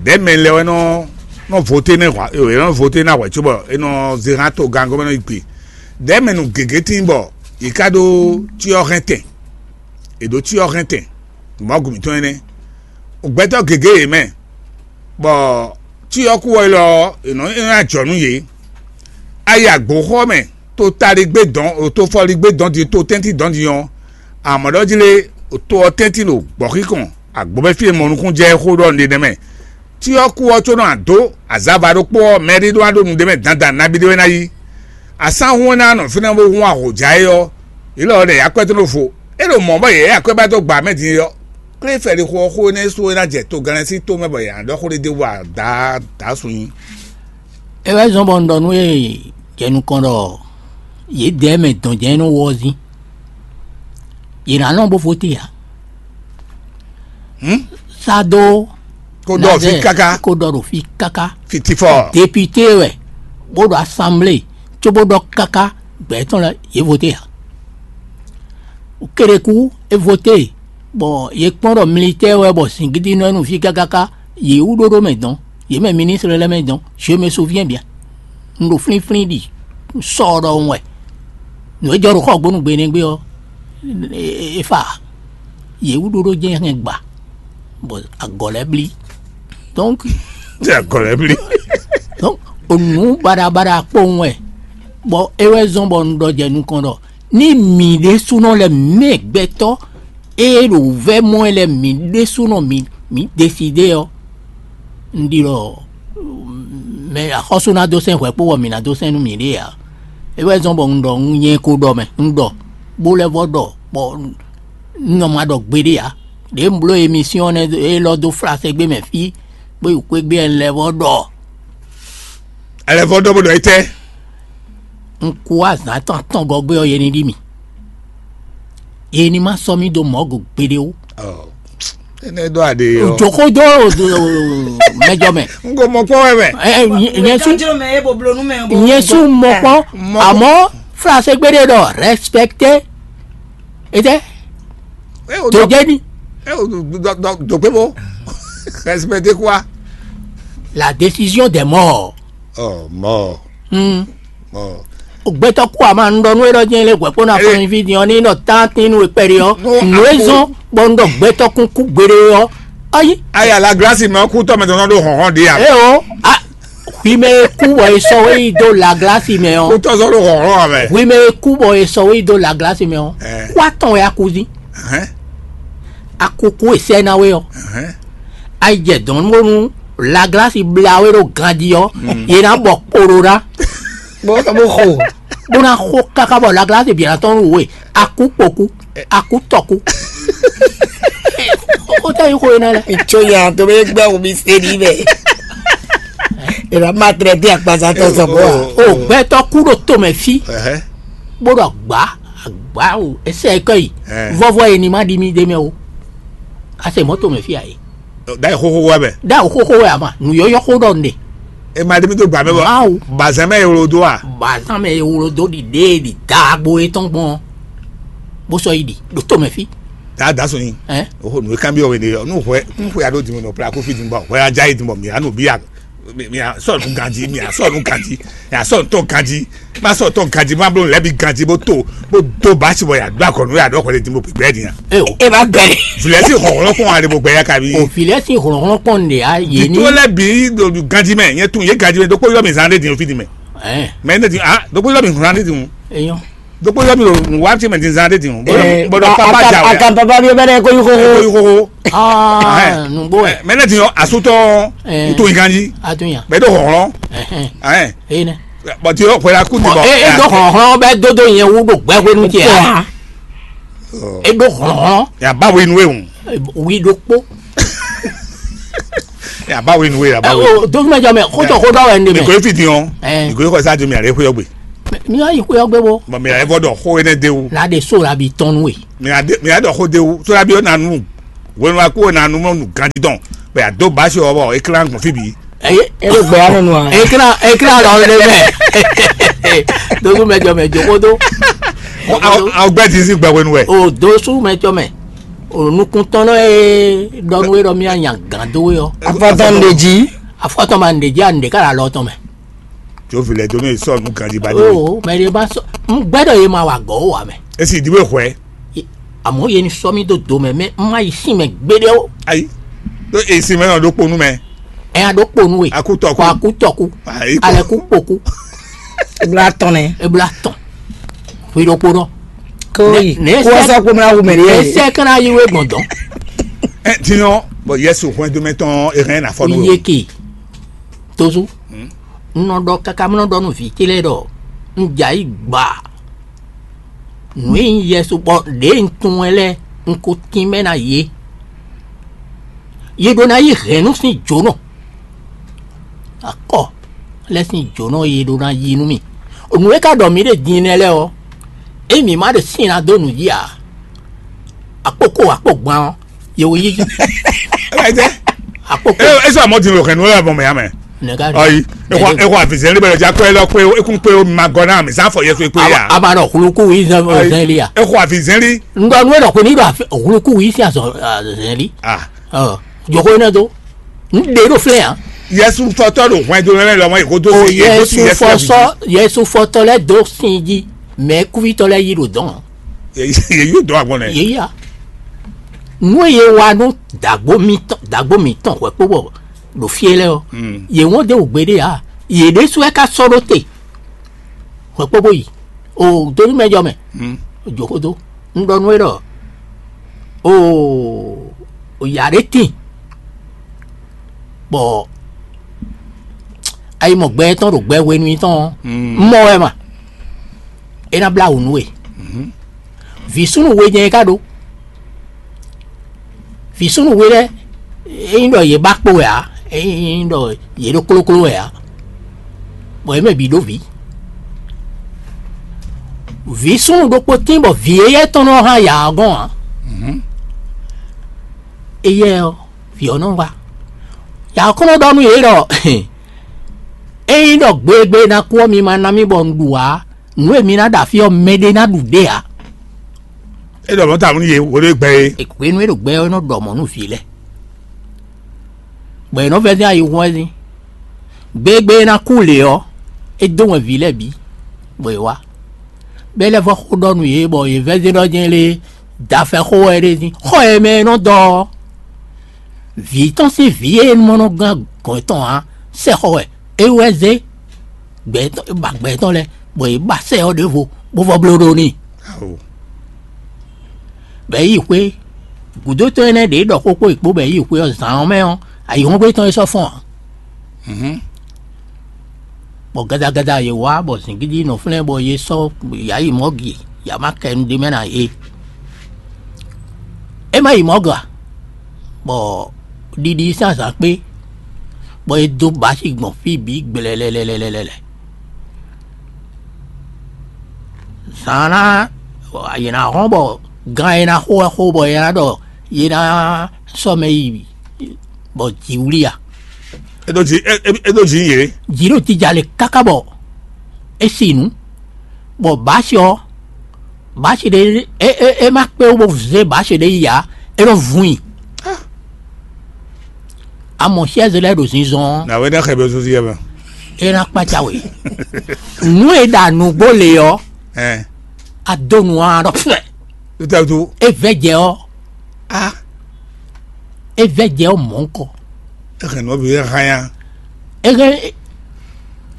ɖɛ̌ mɛ lɛ́ɛ wɛ nɔ nɔ voté nɛ́ hwa é nɔ voté ná hwɛ̌ cóbɔ é nɔ zé hán togán gɔ́mɛ nɔ yi gbe. Ɖɛ̌ mɛ nǔ gěgé tíin bɔ yě ká ɖó cyɔ hɛn tɛn. È ɖǒ cyɔ hɛn tɛn, Mawu mǐtɔn énɛ́. Gbɛtɔ́ gěgé yě mɛ, bɔ cyɔ kú wɛ lɔ ɔ́, è nɔ é nɔ ajɔ nú yě. A yi agbǒxɔ mɛ, to taligbé dɔn, to fɔligbé dɔn din, to tɛ́ntin dɔn din ɔ́, amɔ̌ ɖɔ jí lé, to ɔ́ tɛ́ntin ɖo gbɔ̌xíkɔn, agbǒ mɛ fí e mɔ nukúnnú jɛ é xó ɖɔ un ɖe nɛ́ mɛ. Cyɔ kú ɔ́ có nɔ adǒ azava ɖokpó ɔ́, mɛ ɖé ɖó ná ɖó nu ɖ'é mɛ dandan nabí ɖé wɛ ná yí. Asán hún ɔ́ ná nɔ fínɛ́ bó hún ahǒjá é ɔ́, yě lɔ ɔ́ ɖɛ yě akwɛ́ tɔn ɖo vo. É ɖo mɔ̌ bɔ yě yí akwɛ́ ba dó gba mɛ din é ɔ́, klé fɛ́ ɖi xó ɔ́ xó énɛ́ sú é ná jɛ togannɛ́ sín tó mɛ bɔ yě ná ɖɔ xó ɖé d'é wú ǎ, dǎ dǎ sun nyi. É wɛ zɔ́n bɔ un ɖɔ nú yě jɛ nukɔn ɖɔ yědɛɛ mɛ dɔn jɛ́n nɔ wɔ ɔ́ zín. Yě ná nɔ bó voté ǎ. Hǔn? Sá dó kó ɖɔ fí Nazɛ́ɛ káká. Kó ɖɔ ɖo fí káká. Fitifɔ. Depité wɛ bó ɖo asanblée có bó ɖɔ káká gbɛ̌ tɔn lɛ́ɛ yě voté ǎ. Kéɖeku é voté bɔ yě kpɔ́n ɖɔ militɛ́ɛ wɛ bɔ zǐngídi nɔ ɛ nú fí kákáká, yě wú ɖó ɖó mɛ dɔn, yě mɛ ministre lɛ́ɛ mɛ dɔn, je me souviens bien. Un ɖo flínflín ɖi sɔ ɖɔhun wɛ. Nǔ e jɔ ɖo xɔgbónu gbe nɛgbé ɔ́, é fa. Yě wú ɖóɖó jɛ́n hɛn gba, bɔ agɔ̌ lɛ́ɛ blí. Donc, Jɛ agɔ̌ lɛ́ɛ blí. Donc, onǔ baɖabaɖa kpowun wɛ, bɔ é wɛ zɔ́n bɔ un ɖɔ jɛ nukɔn ɖɔ ní mǐ ɖésúnɔ lɛ́ɛ mɛ gbɛtɔ́ e ɖo vɛ́ mɔ wɛ lɛ́ɛ mǐ ɖésúnɔ mǐ mǐ desidé ɔ́, un ɖi ɖɔ mɛ axɔ́sú ná dó sɛn hwɛ kpó bɔ mǐ ná dó sɛn nú mǐɖée ǎ. É wɛ zɔ́n bɔ un ɖɔ un nyɛ ko ɖɔ mɛ, un ɖɔ bó lɛ́ vɔ ɖɔ bɔ un nɔ ma ɖɔ gbeɖé ǎ. Ɖě un bló emisiyɔn nɛ́ élɔ́ dó flaségbé mɛ fí, bó yi xwégbé ɛ lɛ́ vɔ ɖɔ. Ɛlɛvɔ ɖɔ bó ɖɔ étɛ́. Un kú azǎn tɔn atɔn gɔ́ gbé ɔ́, yě ní ɖi mì. Yě ní ma sɔ́ mì dó mɔ̌ go gbeɖé ó. Ɔ, énɛ́ ɖɔ aɖe ɔ. Jǒxó dó mɛjɔ mɛ. N ko mɔ kpɔ́ wɛ mɛ. Ɛ, ɛ, nyɛ- nyɛ sú Jɔjɔ mɛ ye bo bló nú mɛ bo. Nyɛ sú mɔ kpɔ́. Mɔ- Àmọ́ flaségbé ɖé ɖɔ respecté. Étɛ́ Eh, o tó dɔ- jẹ́ ní. Eh, o do- do- do- do pé bó. Respecter quoi? La décision des morts. Oh, mort. Hmm. Mort. O gbɛtɔ́ kú a máa ń ɖɔ nú é ɖɔ jẹ́ lé hwɛ̌kpó ná Eh. fún iví din ɔ́ ní nɔ tán tín nú ekpɛ́ɖé ɔ́. No, nǔ é a kú. Zɔ́n bɔ un ɖɔ gbɛtɔ́ kún kú gbeɖé ɔ́. Ayi. Aya la grâce mɛ kú tɔ mɛ tɔn ɖo hɔn hɔn ɖe ya. E o, a, hwi mɛ e kú bɔ è sɔ wé yi dó laglasi mɛ Kú ɔ́. Tɔ sɔ ɖo hɔn hɔn mɛ. Hwi mɛ e kú bɔ è sɔ wé yi dó laglasi mɛ ɔ́. Eh. Kú atɔn wɛ a kú dín. Hɛn. Akuku e sɛ ná we ɔ́, Hɛn. Ayi jɛ dɔn bónú laglasi bla we ɖo ganjí ɔ́, yě ná bɔ kpoɖó ná, Bó bó xo. Bó ná xo káká bɔ laglasi bǐ ná tɔn nú we, akú kpokú, akú tɔkú. Ó tɛ yi xo é ná lɛ. Tso ya to bɛ gbɛ wo mi se ni bɛ. Ela ma trɛ di akpaza tɔ sɔ bɔ wa. O gbɛtɔ kú ɖo tomɛ fí, Ɛhɛ. Bó ɖo agbá, agbá o, ɛsɛ kɔ yi. Ɛ. Vɔvɔ yi ni ma ɖi mi ɖe mɛ o. Ase mɔ tomɛ fí ayi. Ɖa yi xoxo wɛ mɛ. Ɖa o xoxo wɛ ama, nu yɔyɔ xo ɖɔ ne. E ma ɖe mi do gba mɛ bɔ. Mawu. Bazɛn mɛ ewlo do a. Bazan mɛ ewlo do ɖi ɖe ɖi dagbo etɔn gbɔn. Bó sɔ yi ɖi ɖo tomɛ fí. Daa da sɔnyi. Ɛ. Oho nu kan bi ɔwɛ de nu hwɛ nu hwɛ ado dimu nɔ pra kofi dimu bɔ hwɛ adza yi dimu bɔ mi anu bi ya. Mi mi a sɔ nu ganji mi a sɔ nu ganji mi a sɔ tɔ ganji ma sɔ tɔ ganji ma blo lɛbi ganji bó to bó do basi bɔ ya do akɔnu ya dɔ kɔlɛ dimu gbɛ diya. Eo. E ma gbɛ. Vilɛ si hɔhɔlɔ kɔn ale bó gbɛ ya kabi. O vilɛ si hɔhɔlɔ kɔn de a ye ni. Tó lɛ bi do ganji mɛ nyɛ tun ye ganji mɛ dɔkpɔ yɔ mi zan de din o fi di mɛ. Ɛ. Mɛ ne di ah dɔkpɔ yɔ mi zan de din o. Eyɔn. Dɔkpɔ yɔ mi lo nu wa ti mɛ di zan de din o. Bɔdɔ bɔdɔ papa ja wɛ. Akan papa bi bɛ dɛ ko yi ko ko. Ko yi ko ko. Aa nugbo ɛ. Mɛ ne di yɔ asutɔ. Ɛ. N to yi ganji. A dun yan. Bɛ do hɔhɔlɔ. Ɛhɛn. Ɛ. Eyi nɛ. Bɔn ti yɔ hwɛla kú ti bɔ. E e do hɔhɔlɔ bɛ dodo yẹn wu do gbɛ hwenu tiɛ. E do hɔhɔlɔ. Ya ba wenu ewu. Wi do kpo. Ya ba wenu e ya ba wenu. O dókúmɛjọ mɛ kótó kó dɔ wɛ ndé mɛ. Nìkó efi din ɔ. Ɛ. Nìkó ekɔ sáájú mi àlẹ́ xóyɔ gbé. Mi yà yí xóyɔ gbé bo. Bɔn mi àlẹ́ fɔ dɔ xó énɛ́ dé wu. La de so la bi tɔn nú e. Mi àdé mi àdɔ xó dé wu sódà bí ó nà nù wenu wa kú ó nà nù mɔ nù gandidɔn bɛ àdó basi ɔ bɔ eklan gbɔn fi bi. Eye. E bɛ gbɛ ya nɔ nu a. Eklan eklan lɔ le mɛ. Dókúmɛjɔ mɛ jókòtó. Awo gbɛ ti si gbɛ wenu wɛ. O dósúmɛjɔ mɛ. O nukuntɔnnɔ e ɖɔ nú e ɖɔ mía nya gǎn dó we ɔ́. Afɔtɔn ɖe jí. Afɔtɔn ma ɖe jí a ɖe ká la lɔ tɔn mɛ. Tso vi lɛ dó nú e sɔ nú ganji ba dó we. O mɛ ɖe ma sɔ n gbɛdɔ ye ma wa gɔ o wa mɛ. Esi di we hwɛ. Amɔ ye ni sɔ mi do do mɛ mɛ n ma yi sin mɛ gbeɖe o. Ayi. Ɖo esi mɛ nɔ ɖo kponu mɛ. Ɛ ya ɖo kponu we. Akutɔku. Akutɔku. Ayi. Alɛku kpoku. Ebla tɔn nɛ. Ebla tɔn. Hwi ɖokpo nɔ. Koyi. Ne- ne- Kó sɛ kpomla wu mɛ ne. Esɛ kana yi we gbɔn dɔn. Ɛ tiɲɔ bɔn Yesu hwɛndo mɛ tɔn ehɛn na fɔ nu. Yeke. Tozu. N nɔ ɖɔ kaka mɔ ɖɔ nu vi ce lɛ ɖɔ n dza yi gba. Nǔ e nyí Yesu bɔ ɖě un tunwun ɛ lɛ́ɛ un ko tínmɛ ná yě. Yě ɖó ná yí hɛ̌nnu sín jǒnɔ. Akɔ lɛ́ sín jǒnɔ e yě ɖó ná yí nú mì. Nǔ e ka ɖɔ mǐ ɖe din nɛ́ lɛ́ɛ ɔ́, ényí mǐ ma ɖe sín ná dó nǔ jí ǎ, akpókó akpó gban ɔ́, yě wǒ yí jí. Ɛ tɛ. Akpókó. E e sɔ mɔ din lo hɛn nu lɛ mɔ mɛ ya mɛ. Nɛgá. Ɔyi. Ekɔ ekɔ avizɛn li bɛ lɔ ja kɔ elɔ kpe ekun kpe o ma gɔ na mi sanfɔ yɛ so ekpe ya. A ma nɔ huluku yi zɛn zɛn li ya. Ekɔ avizɛn li. Ŋgɔ nu e nɔ ko ni ɖo huluku yi si azɔ zɛn li. Ah. Ɔ joko ne do. N ɖe ɖo flɛ ya. Yesu fɔtɔ ɖo hwɛndo lɛ lɔmɔ eko do O si eko si Yesu Yesu fɔsɔ Yesu fɔtɔ lɛ do sin ji mɛ kuvitɔ lɛ yi ɖo dɔn. Ye ye yo dɔn agbɔn nɛ. Ye ya. Nǔ e yě wa nú dǎgbó mǐtɔn dǎgbó mǐtɔn hwɛ̌kpóbɔ ɖo fí e lɛ́ɛ ɔ́, yě wɔ́n d'é wǔ gbeɖé ǎ. Yě ɖésú wɛ ka sɔ́ ɖó te hwɛ̌kpóbó yi. O dó nú mɛ jɔ mɛ, jǒ xó dó. Un ɖɔ nú we ɖɔ o yǎ ɖé tíin, bɔ ayi mɔ gbɛ tɔn ɖo gbɛ hwenu tɔn ɔ́, un mɔ wɛ ma. É ná blá wǔ nú we. Vǐ súnnu we jɛ́n é ka ɖó. Vǐ súnnu we lɛ́ɛ, é nyí ɖɔ yě ba kpo wɛ ǎ, é nyí ɖɔ yě ɖó klókló wɛ ǎ, bɔ yě mɛ bǐ ɖó vǐ. Vǐ súnnu ɖokpó tín bɔ vǐ éyɛ́ tɔn nɔ hán yǎ ɔ́ gɔ́n ǎ. Éyɛ́ ɔ́, vǐ ɔ́ nɔ wá. Yǎ ɔ́ kɔn nɔ ɖɔ nú yě ɖɔ ényí ɖɔ gbegbe ná kú ɔ́, mi ma ná mì bɔ un ɖu ǎ. Nǔ e mi ná ɖo afí ɔ́, mɛɖé ná ɖu ɖě ǎ. É ɖɔ mɔ̌ tawun nú yě, wo ɖé gbɛ é. Hwenu e ɖo gbɛ ɔ́, é nɔ ɖɔ mɔ̌ nú vǐ lɛ́ɛ, bɔ è nɔ vɛ́ dɛ́n ayihún wɛ dín. Gbegbe e ná kú lě ɔ́, é dó wɛn vǐ lɛ́ɛ bǐ, bɔ è wá. Bɔ é lɛ́ vɔ́ xó ɖɔ nú yě, bɔ yě vɛ́ dɛ́n ɖɔ jɛ́n lé dafɛ xó wɛ é ɖe dín. Xɔ e mɛ e nɔ dɔ ɔ́, vǐ tɔn sín vǐ e mɔ nɔ gán gɔ̌n tɔn ǎ, sɛxɔ wɛ é wɛ zé gbɛ tɔn ba gbɛ tɔn lɛ́ɛ, bɔ yě ba sɛ ɔ́ ɖěvo bó vɔ bló ɖó n'i. Bɔ é yi xwé gǔdo tɔn énɛ́ ɖě ɖɔ xó kpó yě kpó, bɔ é yi xwé ɔ́, zǎn ɔ́ mɛ ɔ́, ayǐhɔ́ngbe tɔn é sɔ́ fɔ́n ǎ. Bɔ gadagada yě wá bɔ zǐngídi nɔ flɛ́n bɔ yě sɔ́ yǎ yi mɔ̌ gi yǎ ma kɛ nu ɖ'é mɛ ná yě. É ma yi mɔ̌ ga, bɔ ɖiɖi sín azǎn kpé, bɔ é dó bǎ sí gbɔn fí bǐ gblɛlɛlɛlɛlɛ. Zǎn ná yě ná hɔn bɔ gan e ná xo wɛ xo bɔ yě ná ɖɔ yě ná sɔ́ mɛ yi bɔ jǐ wlí a? É ɖó jǐ é é- é ɖó jǐ yě. Jǐ ɖo jija le káká bɔ é si nǔ, bɔ bǎsi ɔ́, bǎsi ɖé é é é má kpé wú bó zé bǎsi ɖé yi ǎ, é nɔ vun i. Amɔ siɛ́zi lɛ́ɛ ɖo zinzɔn ɔ́, Nǎwe ná xɛ bɛ sósí yɛ mɛ. É ná kpácá we. Nǔ e ɖa nǔgbó le ɔ́, Ɛn. A dó nǔ ɔ́, a ɖɔ fɛ. Tutɛtu. É vɛ́ jɛ ɔ́, A. É vɛ́ jɛ ɔ́ mɔ̌ kɔ. Exɛ nɔ bi hanya. É hɛn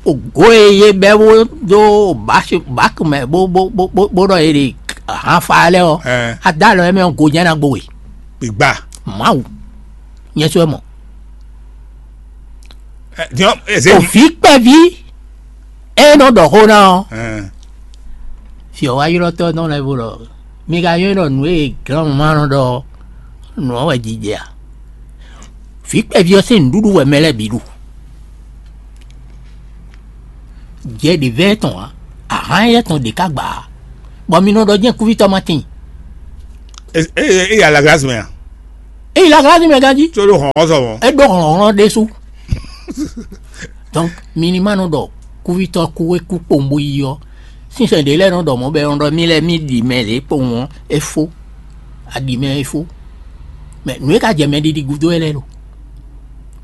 ògo e yé bɛ́ bó dó báki mɛ bó bó bó bó bó ɖɔ yé ɖe hánfa lɛ́ɛ ɔ́, Ɛn. A dó alɔ yɛ mɛ ɔ́, go jɛ́n ná gbo we. Gbigba. Mawu, nyɛ sɔ́ ɛ mɔ. Ɛ, diɔ eze. Òfin kpɛví e nɔ ɖɔ xó ná ɔ́, Ɛn. Fi ɔ́ wá ylɔ́ tɔ́ tɔn lɛ́ɛ bó ɖɔ: "Mi ka nywɛ́ ɖɔ nǔ e glɔ́mɔ ma nɔ ɖɔ ɔ́, nǔ ɔ́ wɛ jijɛ a?" Vǐ kpɛví ɔ́ sín nǔɖuɖu wɛ mɛ lɛ́ɛ bǐ ɖu. Jɛ ɖě vɛ́ tɔn ǎ, ahán éyɛ́ tɔn ɖě ká gbǎ ǎ, bɔ mi nɔ ɖɔ jɛ́n kúvítɔ́ ma tíin. E e e ya la glace mɛ a? Ényí la glá ní mɛ gán jí, Tso ɖo hɔn sɔ mɔ. É ɖó hlɔ̌nhlɔ́n ɖésú. Donc, mi ní ma nɔ ɖɔ kúvítɔ́ kú é kú kpowun bó yi ɔ́, sínsɛn ɖě lɛ́ɛ nɔ ɖɔ mɔ̌ bɔ é nɔ ɖɔ mì lɛ́ɛ mì ɖi mɛ lě kpowun ɔ́, é fó. A ɖi mɛ é fó. Mɛ nǔ e ka jɛ mɛ ɖiɖi gúdo wɛ lɛ́ɛ lo.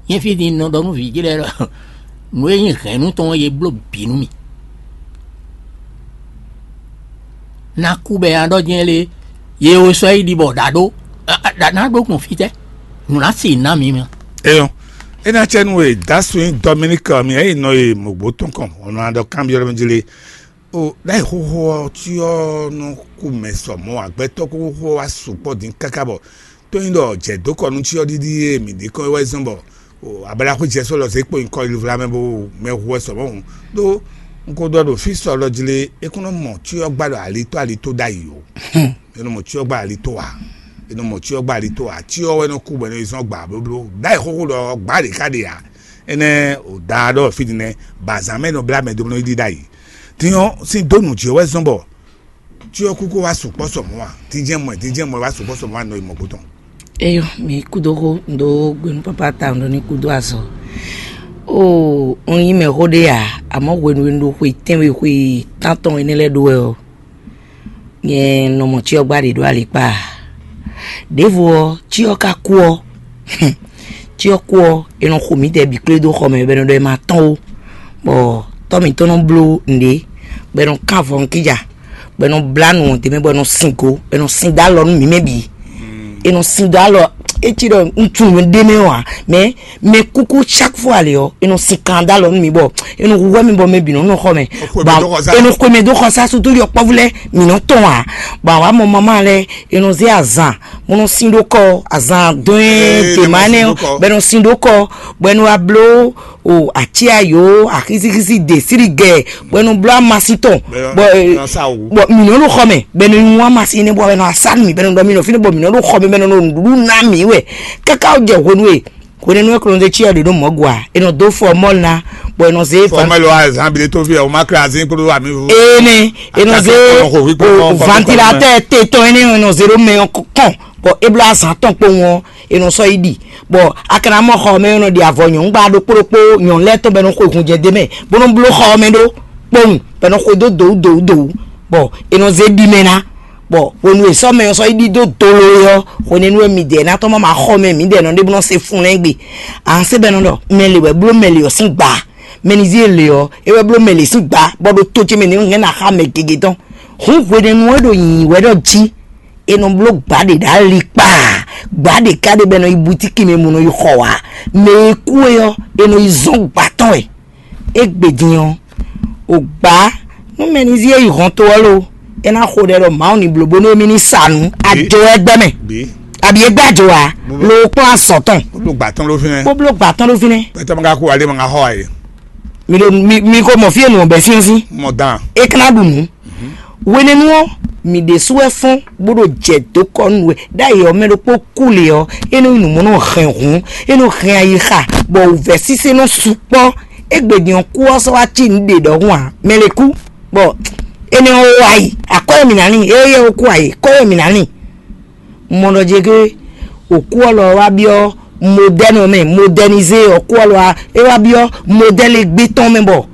Nyɛ fí din nɔ ɖɔ nú vǐ jí lɛ́ɛ ɖɔ nǔ e nyí hɛ̌nnu tɔn ɔ́, yě bló bǐ nú mì. Ná kú bɛ a ɖɔ jɛ́n lé, ye wo sɔ́ yi ɖi bɔ ɖa ɖó, ɖa ná ɖó gbɔn fítɛ́? Nǔ ná si ná mi mɛ. Eyɔn, e na cɛ nu e dasu nyi Dominique mi e nɔ yi mɔgbo tɔn kɔn, o nɔ ɖɔ kanbyɔ́ mi jí lé. O ɖa yi xoxo ɔ́, cyɔ nɔ kú mɛ sɔ mɔ agbɛtɔ kókó wá sukpɔ dín káká bɔ tó nyi ɖɔ jɛ dó kɔ nú cyɔ ɖiɖi e mi ɖi kɔn wɛ zɔn bɔ o abala xwé jɛ sɔ lɔ zé kpo nyikɔ yi vla mɛ bo mɛ hu wɛ sɔ mɔ hǔn. Ɖó un ko ɖɔ ɖo fí sɔ lɔ jí lé, é kún nɔ mɔ cyɔ gbá ɖo alitó alitó ɖ'ayǐ o. Enɔ mɔ cyɔ gba ali to wa. Enɔ mɔ cyɔ gba ali to wa. Cyɔ wɛ nɔ kú bɔ enɔ yi zɔn gba blóbló. Dayi xóxó ɖɔ gba ɖe ka ɖe ya. Enɛ o da ɖɔ fi din nɛ. Bazan mɛ nɔ bla mɛ do nɔ yi ɖi dayi. Tinyɔ sin do nu jɛ wɛ zɔn bɔ cyɔ kúkú wa sukpɔ sɔmɔ wa. Tijɛ mɔ tijɛ mɔ wa sukpɔ sɔmɔ wa nɔ yi mɔ gbótɔn. Eyɔ, mi kudo xó ndo gbenu papa ta ndo ni kudo azɔ. O un yi mɛ xó ɖe ya, amɔ hwenu e un ɖo xwe tɛnwe xwe tantɔn enɛ lɛ ɖo wɛ ɔ, nyɛ nɔ mɔ cyɔ gba ɖě ɖo alikpa. Ɖěvo ɔ́, cyɔ ka kú ɔ́, cyɔ kú ɔ́, è nɔ xo mǐdɛɛ bǐ kplé dó xɔ mɛ, bɔ è nɔ ɖɔ è ma tɔ́n ó, bɔ tɔ́ mǐtɔn nɔ bló nǔɖé, bɔ è nɔ kán avɔ nukíja, bɔ è nɔ blá nǔ ɔ́ d'é mɛ, bɔ è nɔ sin go, bɔ è nɔ sin dó alɔ nú mǐ mɛ bǐ. è nɔ sin dó alɔ, é cí ɖɔ un tunwun ɖé mɛ ɔ́ ǎ, mɛ mɛ kúkú chaque fois lě ɔ́, è nɔ sin kan dó alɔ nú mi bɔ è nɔ hu hwɛ mi bɔ mɛ bǐ nɔ nɔ xɔ mɛ. Bɔ è nɔ xwe mɛ dó xɔ sá sutu yɔkpɔ́vú lɛ́ɛ mǐ nɔ tɔn ǎ. Bɔ àwa mɔ mamá lɛ́ɛ è nɔ zé azan bó nɔ sin ɖó kɔ, azan dɔn ɛ dèmánɛ bɔ è nɔ sin ɖó kɔ, bɔ è nɔ wá bló o aci ayo axisixisi de siri gɛ bɔ ɛnu bló amasi tɔn bɔ ɛ bɔ mǐ nɔ ɖo xɔ mɛ bɔ ɛnu nyi amasin énɛ́ bɔ ɛnu asa nú mǐ bɔ ɛnu ɖɔ mí nɔ fínɛ́ bɔ mǐ nɔ ɖo xɔ mɛ bɔ ɛnu ɖo nǔɖuɖu ná mǐ wɛ káká jɛ hwenu e hwenɛ́nu e kplɔ́n ɖe cyɔ ɖě ɖo mɔ̌ gɔ́ a è nɔ dó fɔ mɔ́ ná bɔ è nɔ zé fan fɔmɛlɛ wa zan bi de to fi ɛ o ma kla azin kpódó ami vo ene è nɔ zé Akasɛ kɔnɔ xo wípé o kɔn kɔn ventilatɛr te tɔn énɛ́ è nɔ zé ɖó mɛ ɔ́ kɔn bɔ é bló azan tɔn kpowun ɔ́ è nɔ sɔ́ yi ɖi bɔ a ka ná mɔ xɔ mɛ e nɔ ɖi avɔ nyɔ̌nu gba ɖokpó ɖokpó nyɔ̌nu lɛ́ɛ tɔn bɔ è nɔ xwe hun jɛ d'é mɛ bó nɔ́ bló xɔ ɔ́ mɛ ɖó kpowun bɔ è nɔ xwe dó dǒwú dǒwú dǒwú bɔ è nɔ zé ɖi mɛ ná bɔ hwenu e sɔ́ mɛ ɔ́ sɔ́ yi ɖi dó dolo é ɔ́ hwenɛ́nu wɛ midɛɛ ná tɔ́n má ma xɔ mɛ mǐdɛɛ nɔ ɖé bó nɔ́ se fun lɛ́ɛ gbe. Ǎ se bɔ è nɔ ɖɔ mɛ lě wɛ bló mɛ lě ɔ́ sín gbǎ, mɛ ní zí e lě ɔ́ é wɛ bló mɛ lě sín gbǎ bɔ ɖo tó ce mɛ ní hɛn ná xá mɛ gěgé tɔn. Hǔn hwenɛ́nu ɔ́ ɖo nyǐnyí wɛ ɖɔ jí è nɔ bló gbǎ ɖě ɖo ali kpaa, gbǎ ɖě ká ɖé bɔ è nɔ yi butíki mɛ mɔ nɔ yi xɔ wǎ. Mɛ e kú é ɔ́, è nɔ yi zɔ́n gbǎ tɔn wɛ. Égbé din ɔ́, o gbǎ nú mɛ ní zí e yi hɔn to ɔ́ lo, é ná xo ɖɛ ɖɔ Mawu ní bló bónú émí ní sa nǔ ajo wɛ gbɛ mɛ, abǐ é gbá ajo ǎ, lo kplɔ́n azɔ̌ tɔn, bó bló gbǎ tɔn ɖó fínɛ́, bó bló gbǎ tɔn ɖó fínɛ́. Pɛtɛ́ ma ka kú ǎ lé ma ka xɔ ǎ é. Mi ɖo mi mi ko mɔ fí e nǔ ɔ́ bɛ́ sín ɔ́ sín, mɔ dan. É ka ná ɖu nǔ. Hwenɛ́nu ɔ́, mǐ ɖésú wɛ fɔ́n bó ɖo jɛ dǒ kɔ nú we ɖ'ayǐ ɔ́ mɛ ɖokpó kú lě ɔ́, é nɔ nyí nǔ mɔ nɔ hɛn hǔn, é nɔ hɛn ayixa, bɔ wǔvɛ́ sísé nɔ sukpɔ́. Égbé din ɔ́, kú ɔ́ sɔ́ wá cí nǔ ɖě ɖɔhun ǎ, mɛ lě kú, bɔ énɛ́ ɔ́ wá yi, akɔ́ e mǐ ná lin, éyɛ́ ɔ́ kú ǎ é, kɔ́ e mǐ ná lin. Un mɔ ɖɔ jɛ gé òkú ɔ́ lɔ wá byɔ́ modɛ́nu mɛ, modɛnizé òkú ɔ́ lɔ wá, é wá byɔ́ modɛ́lu égbé tɔn mɛ bɔ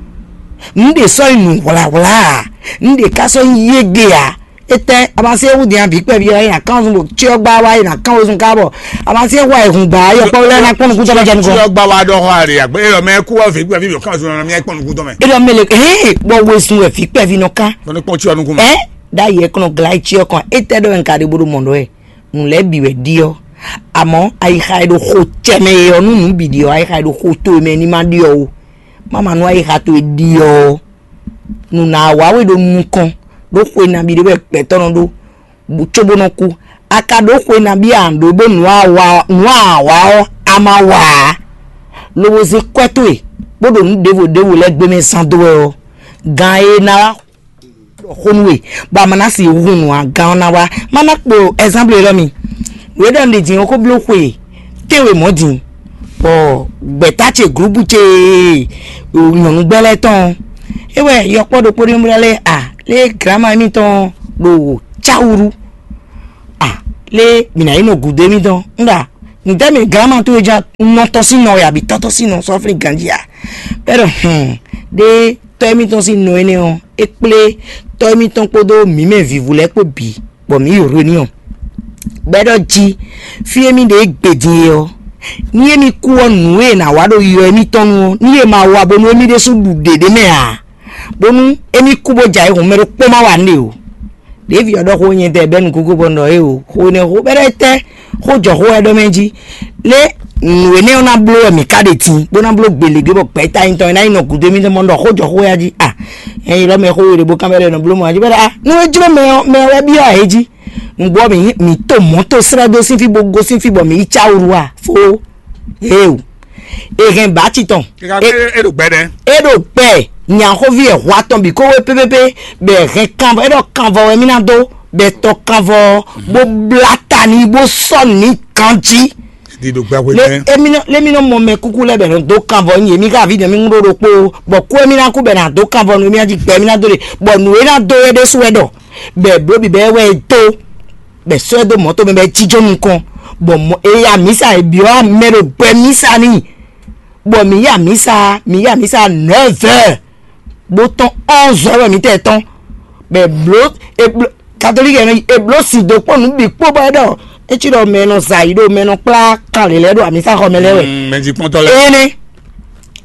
nǔ ɖě sɔ́ nyí nǔ hwlǎhwlá ǎ, nǔ ɖě ka sɔ́ nyí yége ǎ. Étɛ́ amasí e wú din avǐ kpɛví ɔ́, é ná kán zun ɖo cyɔ gbá wá, é ná kán wezun ká bɔ amasí e hwa e hun gbǎ yɔkpɔ́ lɛ́ɛ ná kpɔ́n nukún tɔn jɛ nukɔn. Cyɔ gbá wá ɖɔ xɔ àrè àgbẹ̀ é lɔ mɛ kú wá vǐ kpɛví yɔ kán zun lɔ mɛ kpɔ́n nukún tɔn mɛ. É lɔ mɛ le hɛn bɔ wezun wɛ vǐ kpɛví nɔ kán. Bɔ ní kpɔ́n cyɔ nukún mɛ. Ɛ ɖ'ayǐ ɛ kɔnɔ glá cyɔ kɔn, étɛ́ ɖɔ wɛ un ka ɖe bó ɖo mɔ ɖɔ wɛ? Nǔ lɛ́ɛ bǐ wɛ ɖi ɔ́, amɔ̌ ayixa e ɖo xo ce mɛ e ɔ́, nú nǔ bǐ ɖi ɔ́, ayixa e ɖo xo towe mɛ ní ma ɖi ɔ́ ó. Má ma nú ayixa towe ɖi ɔ́, nǔ ná wá we ɖo nukɔn ɖó xwe nabí ɖé wɛ gbɛtɔ́ nɔ ɖó, bó cóbó nɔ kú. A ka ɖó xwe nabí a ɖǒ bó nǔ a wa nǔ a wa ɔ́, a ma wa ǎ, lobo zé kwɛ́ towe bó ɖo nǔ ɖěvo ɖěvo lɛ́ɛ gbé mɛ zán dó wɛ ɔ́, gan e ná wá xó nú we, bɔ a ma ná si hun nǔ ǎ, gán ɔ́ ná wá. Má ná kpo ɛzánblu élɔ́ mi. Wě ɖɔ un ɖe din ɔ́ xó bló xwe tɛ́nwe mɔ̌ din, bɔ gbɛ̌ta ce glǔbu ce nyɔ̌nu gbɛ́ lɛ́ɛ tɔn ɔ́, é wɛ yɔkpɔ́ ɖokpó ɖé bó lɛ́ a lé glǎma émítɔn ɖo cáwúɖú a lé mǐ ná yi nɔ gǔdo émítɔn un ɖa nǔtɛ́ mɛ glǎma towe ján nɔ tɔn sín nɔ wɛ abǐ tɔ́ tɔn sín nɔ sɔ́flin ganjí a bɛ́ ɖɔ hǔn ɖé tɔ́ émítɔn sín nɔ énɛ́ ɔ́, é kplé tɔ́ émítɔn kpódó mǐ mɛ vǐvú lɛ́ɛ kpó bǐ, bɔ mǐ yi Rweniɔ. Bɔ é ɖɔ jí, fí e mì ɖe gbe din é ɔ́, ní émí kú ɔ́, nǔ e è nǎ wa ɖo yɔ émítɔn nu ɔ́, ní è ma wa bónú émí ɖésú ɖu ɖě ɖ'é mɛ ǎ, bónú émí kú bó jɛ ayǐhun mɛ ɖokpó ma wa nǔɖé o. Ɖěvi ɔ́ ɖɔ xó nyɛ tɛ bɛ́ nukúnkún bɔ un ɖɔ éeǒ, xó énɛ́ xó bɛ́ ɖɔ étɛ́ xó jɔ xó wɛ ɖɔ mɛ jí. Lé nǔ énɛ́ ɔ́ ná bló wɛ mǐ ka ɖe din, bó ná bló gbělégbé bɔ gbɛ̌ta nyitɔn e ná nyí nɔ gǔdo émítɔn mɔ ɖɔ xó jɔ xó wɛ jí a? Nyɛ yi lɔ mɛ xó we ɖě bó kán bɛ́ ɖɔ è nɔ bló mɔ jí bɛ́ ɖɔ a nú é jló mɛ ɔ́, mɛ ɔ́ wɛ byɔ́ ǎ é jí. Nǔgbó ɔ́ mǐ mǐ to mɔ̌ to srɛ́ dó sín fí bó gosín fí bɔ mǐ yi cáwuru a fó. Éeǒ. È hɛn bǎ ci tɔn. Kɛkɛ é ɖo gbɛ ɖɛ. É ɖo gbɛ nyaxóví ɛ hwa tɔn bǐ kó wé pépépé, bɔ è hɛn kanvɔ, é ɖɔ kanvɔ wɛ mì ná dó, bɔ è tɔ kanvɔ ɔ́, bó blá ta n'i, bó sɔ́ nǔ n'i ganjí. Di ɖo gbɛ hwe Lé mɛ. Émí nɔ lé mí nɔ mɔ mɛ kúkú lɛ́ɛ bɔ è nɔ dó kanvɔ nyi yě, mí ká aví dɔn mí ŋú ɖó ɖokpó, bɔ kú émí ná kú bɔ è nǎ dó kanvɔ nú émí ná jí gbɛ émí ná dó ɖe, bɔ nǔ e ná dó é ɖésú wɛ ɖɔ, bɔ è blǒ bǐbɛ́ wɛ é dó. Bɔ è sɔ́ ɛ dó mɔ̌ tɔn mɛ bɔ é jínjɔ́n nukɔn, bɔ mɔ è yi amǐsa è byɔ́ mɛ ɖo gbɛ mísa n'i, bɔ mǐ yi amǐsa mǐ yi amǐsa nɛ̌vɛ́, bó tɔ́n ɔ́nzɔ́ wɛ mǐ tɛ tɔ́n, bɔ è blǒ è blǒ katolíki ɛ nɔ yi è blǒ sin dó kpɔ́n nǔ bǐ kpó bɔ é ɖɔ é cí ɖɔ mɛ e nɔ zɛ ayǐ ɖo mɛ e nɔ kplá kan lě lɛ́ɛ ɖo amǐsaxɔ mɛ lɛ́ɛ wɛ. Mɛ jí kpɔ́ntɔ́ lɛ́ɛ. Énɛ́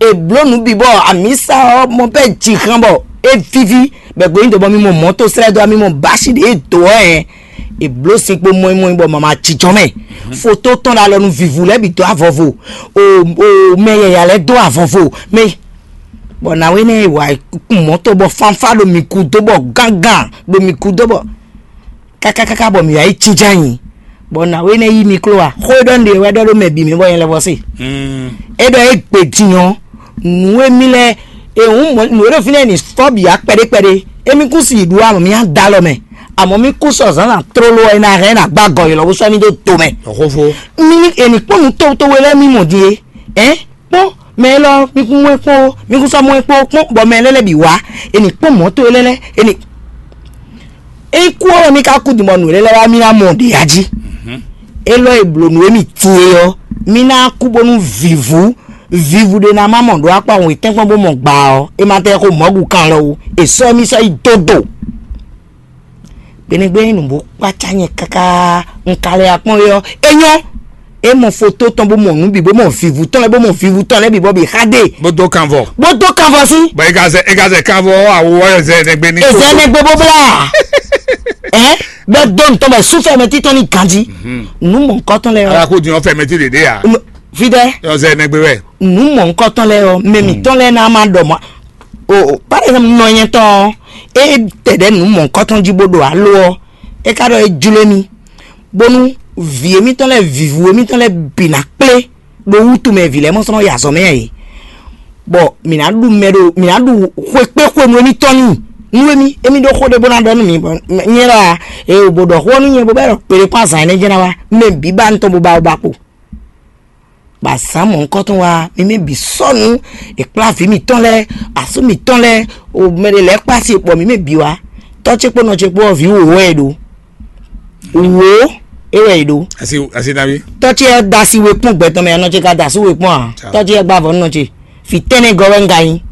è blǒ nǔ bǐ bɔ amǐsa ɔ́ mɔ bɛ́ jǐ hán bɔ é víví, bɔ è gbǒ nyi dǒ bɔ mi mɔ mɔ̌ to slɛ́ dó ɔ́, mi mɔ bǎsi ɖě e dǒ ɔ́ hɛn, È blǒ sin kpo mɔ́imɔ́i bɔ mama jínjɔ́n mɛ. Foto tɔn ɖo alɔ nú vǐvú lɛ́ɛ bǐ dó avɔvo. O o mɛ yɛ̌yá lɛ́ɛ dó avɔvo. Mɛ bɔ nǎwe nɛ́ è wǎ kún mɔ̌ tɔn bɔ fánfá ɖo mǐ kú dó bɔ gángan ɖo mǐ kú dó bɔ kákákáká bɔ mǐ wá yi jínjɔ́n ayǐ. Bɔ nǎwe nɛ́ yí mi kló a? Xó e ɖɔ un ɖe wɛ ɖɔ ɖó mɛ bǐ mɛ bɔ nyɛ lɛ́ vɔ se. É ɖɔ é gbe din ɔ́, nǔ e mì lɛ́ɛ e hǔn mɔ nǔ e ɖo fínɛ́ ní fɔ́ bǐ wá kpɛɖé kpɛɖé. Émí kún si yi ɖu amɔ mì á da alɔ mɛ. Amɔ mì kún sɔ zǎnzǎn tlóló ɔ́, é ná hɛn é ná gbá gɔ̌ ylɔ́ bó sɔ́ mì dó do mɛ. Xófó. Mì ní è nǐ kpɔ́n nǔ tówtówé lɛ́ɛ mì mɔ din é. Ɛ́n kpɔ́n mɛ élɔ́, mì kún mɔ ɛ kpɔ́n o, mì kún sɔ́ mɔ ɛ kpɔ́n o, kpɔ́n bɔ mɛ lɛ́ɛ lɛ́ɛ bǐ wá. È nǐ kpɔ́n mɔ̌ towe lɛ́ɛ lɛ́ɛ, è nǐ é kú ɔ́ wɛ mì ka kú din bɔ nǔ e lɛ́ wá mì ná mɔ ɖě ya jí. Élɔ́ e blǒ nǔ e mì tin é ɔ́, mì ná kú bónú vǐvú vǐvú ɖé ná má mɔ ɖó akpá wětɛ́nkpɔ́n bó mɔ gbaa ɔ́, é ma tɛ́ xó mɔ̌gu kan lɔ wú, è sɔ́ mì sɔ́ yi dó do. Gbeɖégbé nyí nǔ bó kpácá nyɛ káká, un ka lɛ akpɔ́n é ɔ́, é nyɔ́. É mɔ foto tɔn bó mɔ nǔ bǐ bó mɔ vǐvú tɔn lɛ́ɛ bó mɔ vǐvú tɔn lɛ́ɛ bǐ bɔ bǐ xa ɖe. Bó dó kanvɔ. Bó dó kanvɔ sí. Bɔ é ka zɛ é ka zɛ kanvɔ ɔ́ awo ɔ́ zɛ nɛgbé ní. Ezɛ nɛgbé bó blá. Ɛ bɛ dó ntɔn bɛ sú fɛmɛ títɔn ní ganji. Nú mɔ nukɔtɔn lɛ ɔ́. Ala kó din ɔ́ fɛmɛ tí ɖě ɖé a. Fidɛ. Ɔzɛ nɛgbé wɛ. Nú mɔ nukɔtɔn lɛ ɔ́ mɛ mǐtɔn lɛ ná má ɖɔ mɔ. O par exemple nɔ nyɛ tɔn ɔ́, é tɛ ɖɛ nú mɔ nukɔtɔn jí bó ɖo alo ɔ́, é ka ɖɔ é jló mì. Bónú vǐ émítɔn lɛ́ɛ vǐvú émítɔn lɛ́ɛ bǐ ná kplé ɖo wútu mɛ vǐ lɛ́ɛ mɔ sɔ́ nɔ yi azɔ̌ mɛ ǎ é. Bɔ mǐ ná ɖu mɛ ɖo mǐ ná ɖu xwekpé xwenu émítɔn n'i. Nú émí émí ɖó xó ɖé bó ná ɖɔ nú mǐ bɔ nyɛ ɖɔ a, ee bó ɖɔ xó ɔ́ nú nyɛ bó bɛ́ ɖɔ kpeɖé kpó azǎn énɛ́ jɛ́n ná wá, mɛ bǐ ba nú tɔn bó ba bó ba kpo. Bɔ azǎn mɔ̌hunkɔtɔn wá, mǐ mɛ bǐ sɔ́ nǔ, è kplá vǐ mǐtɔn lɛ́ɛ, asú mǐtɔn lɛ́ɛ, o mɛ ɖé lɛ́ɛ kpá asi bɔ mǐ mɛ bǐ wá. Tɔ́ ce kpó nɔ ce kpó ɔ́, vǐ wǒwó wɛ è ɖó. Wǒ é wɛ è ɖó. Asi asi nabi. Tɔ́ ce ɔ́ da asi we kpɔ́n gbɛ tɔn mɛ, anɔ ce ka da asú we kpɔ́n ǎ. Tɔ́ ce ɔ́ gba avɔ nɔ ce. Vǐ tɛ́nnɛ gɔ́ wɛ un ka nyí.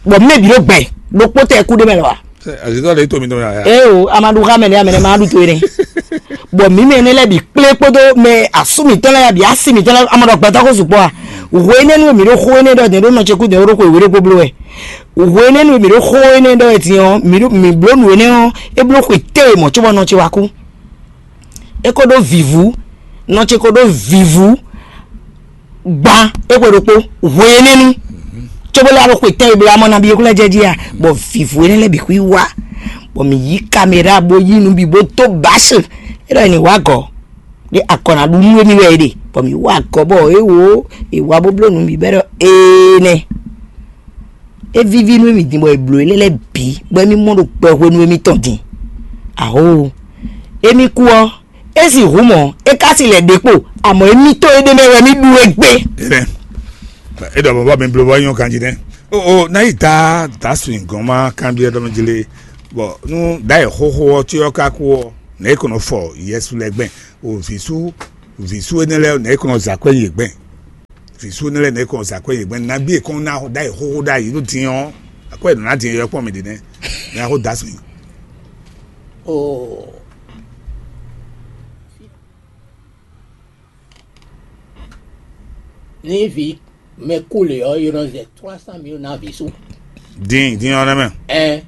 Bɔ mɛ bǐ ɖo gbɛ ɖokpó tɛ kú ɖé mɛ lɔ wa. Azitɔ le to mi tɔn ya. Ee o, amadu xa mɛ ne amɛ ne ma ɖu to ene. Bɔ mǐ mɛ ne lɛ bi kplé kpódó mɛ asú mǐtɔn lɛ ya bi asi mǐtɔn lɛ amadu gbɛtɔ ko sukpɔ a. Hwenɛnu mǐ ɖo xó énɛ́ ɖɔ dɛn ɖó nɔ ce kú dɛn ɖó xwe wéɖé kpó bló wɛ. Hwenɛnu mǐ ɖo xó énɛ́ ɖɔ wɛ din ɔ́, mǐ ɖo mǐ bló nǔ énɛ́ ɔ́, é bló xwe té mɔ cóbɔ nɔ ce wá kú. É ko ɖó vǐvú, nɔ ce ko ɖó vǐvú. Gban é xwe ɖokpó hwenɛ́nu, cóbó lɛ́ alo xwe tɛ́nwe bló amɔ́ nabí é kú lɛ́ jɛ jí a, bɔ vǐvú énɛ́ lɛ́ɛ bǐ xwí wá, bɔ mǐ yí kaméra bó yí nǔ bǐ bó dó bǎsì. É ɖɔ è nǐ wá gɔ̌ ɖé akɔ ná ɖu nú émí wɛ é ɖe, bɔ mǐ wá gɔ̌ bɔ é wǒ è wá bó bló nǔ bǐ bɔ é ɖɔ énɛ́. É víví nú émí din bɔ è blǒ énɛ́ lɛ́ɛ bǐ bɔ émí mɔ ɖo kpɛ hwenu émítɔn din. Aho, émí kú ɔ́, é sixú mɔ é ka si lɛ ɖě kpo, amɔ̌ émítɔn éɖée mɛ wɛ mì ɖu égbé. Enɛ, e ɖɔ bɔbɔ mi blo bɔ nyɔ ganji nɛ. O o na yi da da su gɔn ma kanbiɛ ɖɔ mi jle. Bɔ nu da yi xoxo ɔ tsi ɔ ka ku ɔ, ne e kɔnɔ fɔ yɛsu lɛ gbɛn. O visu visu ene lɛ ne e kɔnɔ zakɔ yi gbɛn. Visu ene lɛ ne e kɔnɔ zakɔ yi gbɛn, nabi e kɔn na da yi xoxo da yi nu din ɔ, akɔ yi nɔ na din yɔ kpɔn mi ɖi nɛ. Ne a xo da su yi. O Ní vǐ mɛ kú lě ɔ́, è nɔ zɛ trois cent mille ná vǐ sú. Din din ɔ́ nɛ́ mɛ. Ɛn, è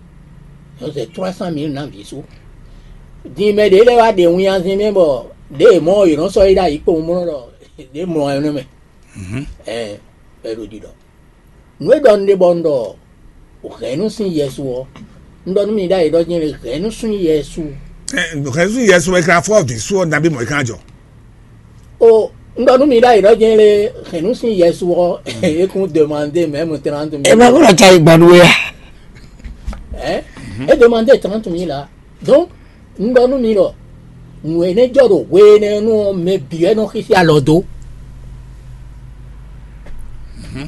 nɔ zɛ trois cent mille ná vǐ sú. Din mɛ ɖě lɛ́ɛ wá ɖe winnyazin mɛ bɔ ɖěe mɔ̌ è nɔ sɔ́ yi ɖ'ayǐ kpowun bó nɔ ɖɔ ɖě mlɔ ɛ nú mɛ. Ɛn, bɔ è ɖo ɖiɖɔ. Nǔ e ɖɔ un ɖe bɔ un ɖɔ hɛ̌nnu sín Yɛsu ɔ́, un ɖɔ nú mi ɖ'ayǐ ɖɔ nyɛ le hɛ̌nnu sín Yɛsu. Hɛ̌nnu sín Yɛsu wɛ kan fɔ vǐ sú ɔ́ nabí mɔ̌ é kan jɔ. O un ɖɔ nú mi ɖ'ayǐ ɖɔ nyɛ le hɛ̌nnu sín Yɛsu ɔ́, é kún demandé mɛ̌mu trente mille. Ẹ bá kó lọ tsa ìgbà nú ya. Ɛ é demandé trente mille la. Donc un ɖɔ nú mi ɖɔ nǔ énɛ́ jɔ ɖo hwe énɛ́ nu ɔ́, mɛ bǐ wɛ nɔ xíxí alɔ dó.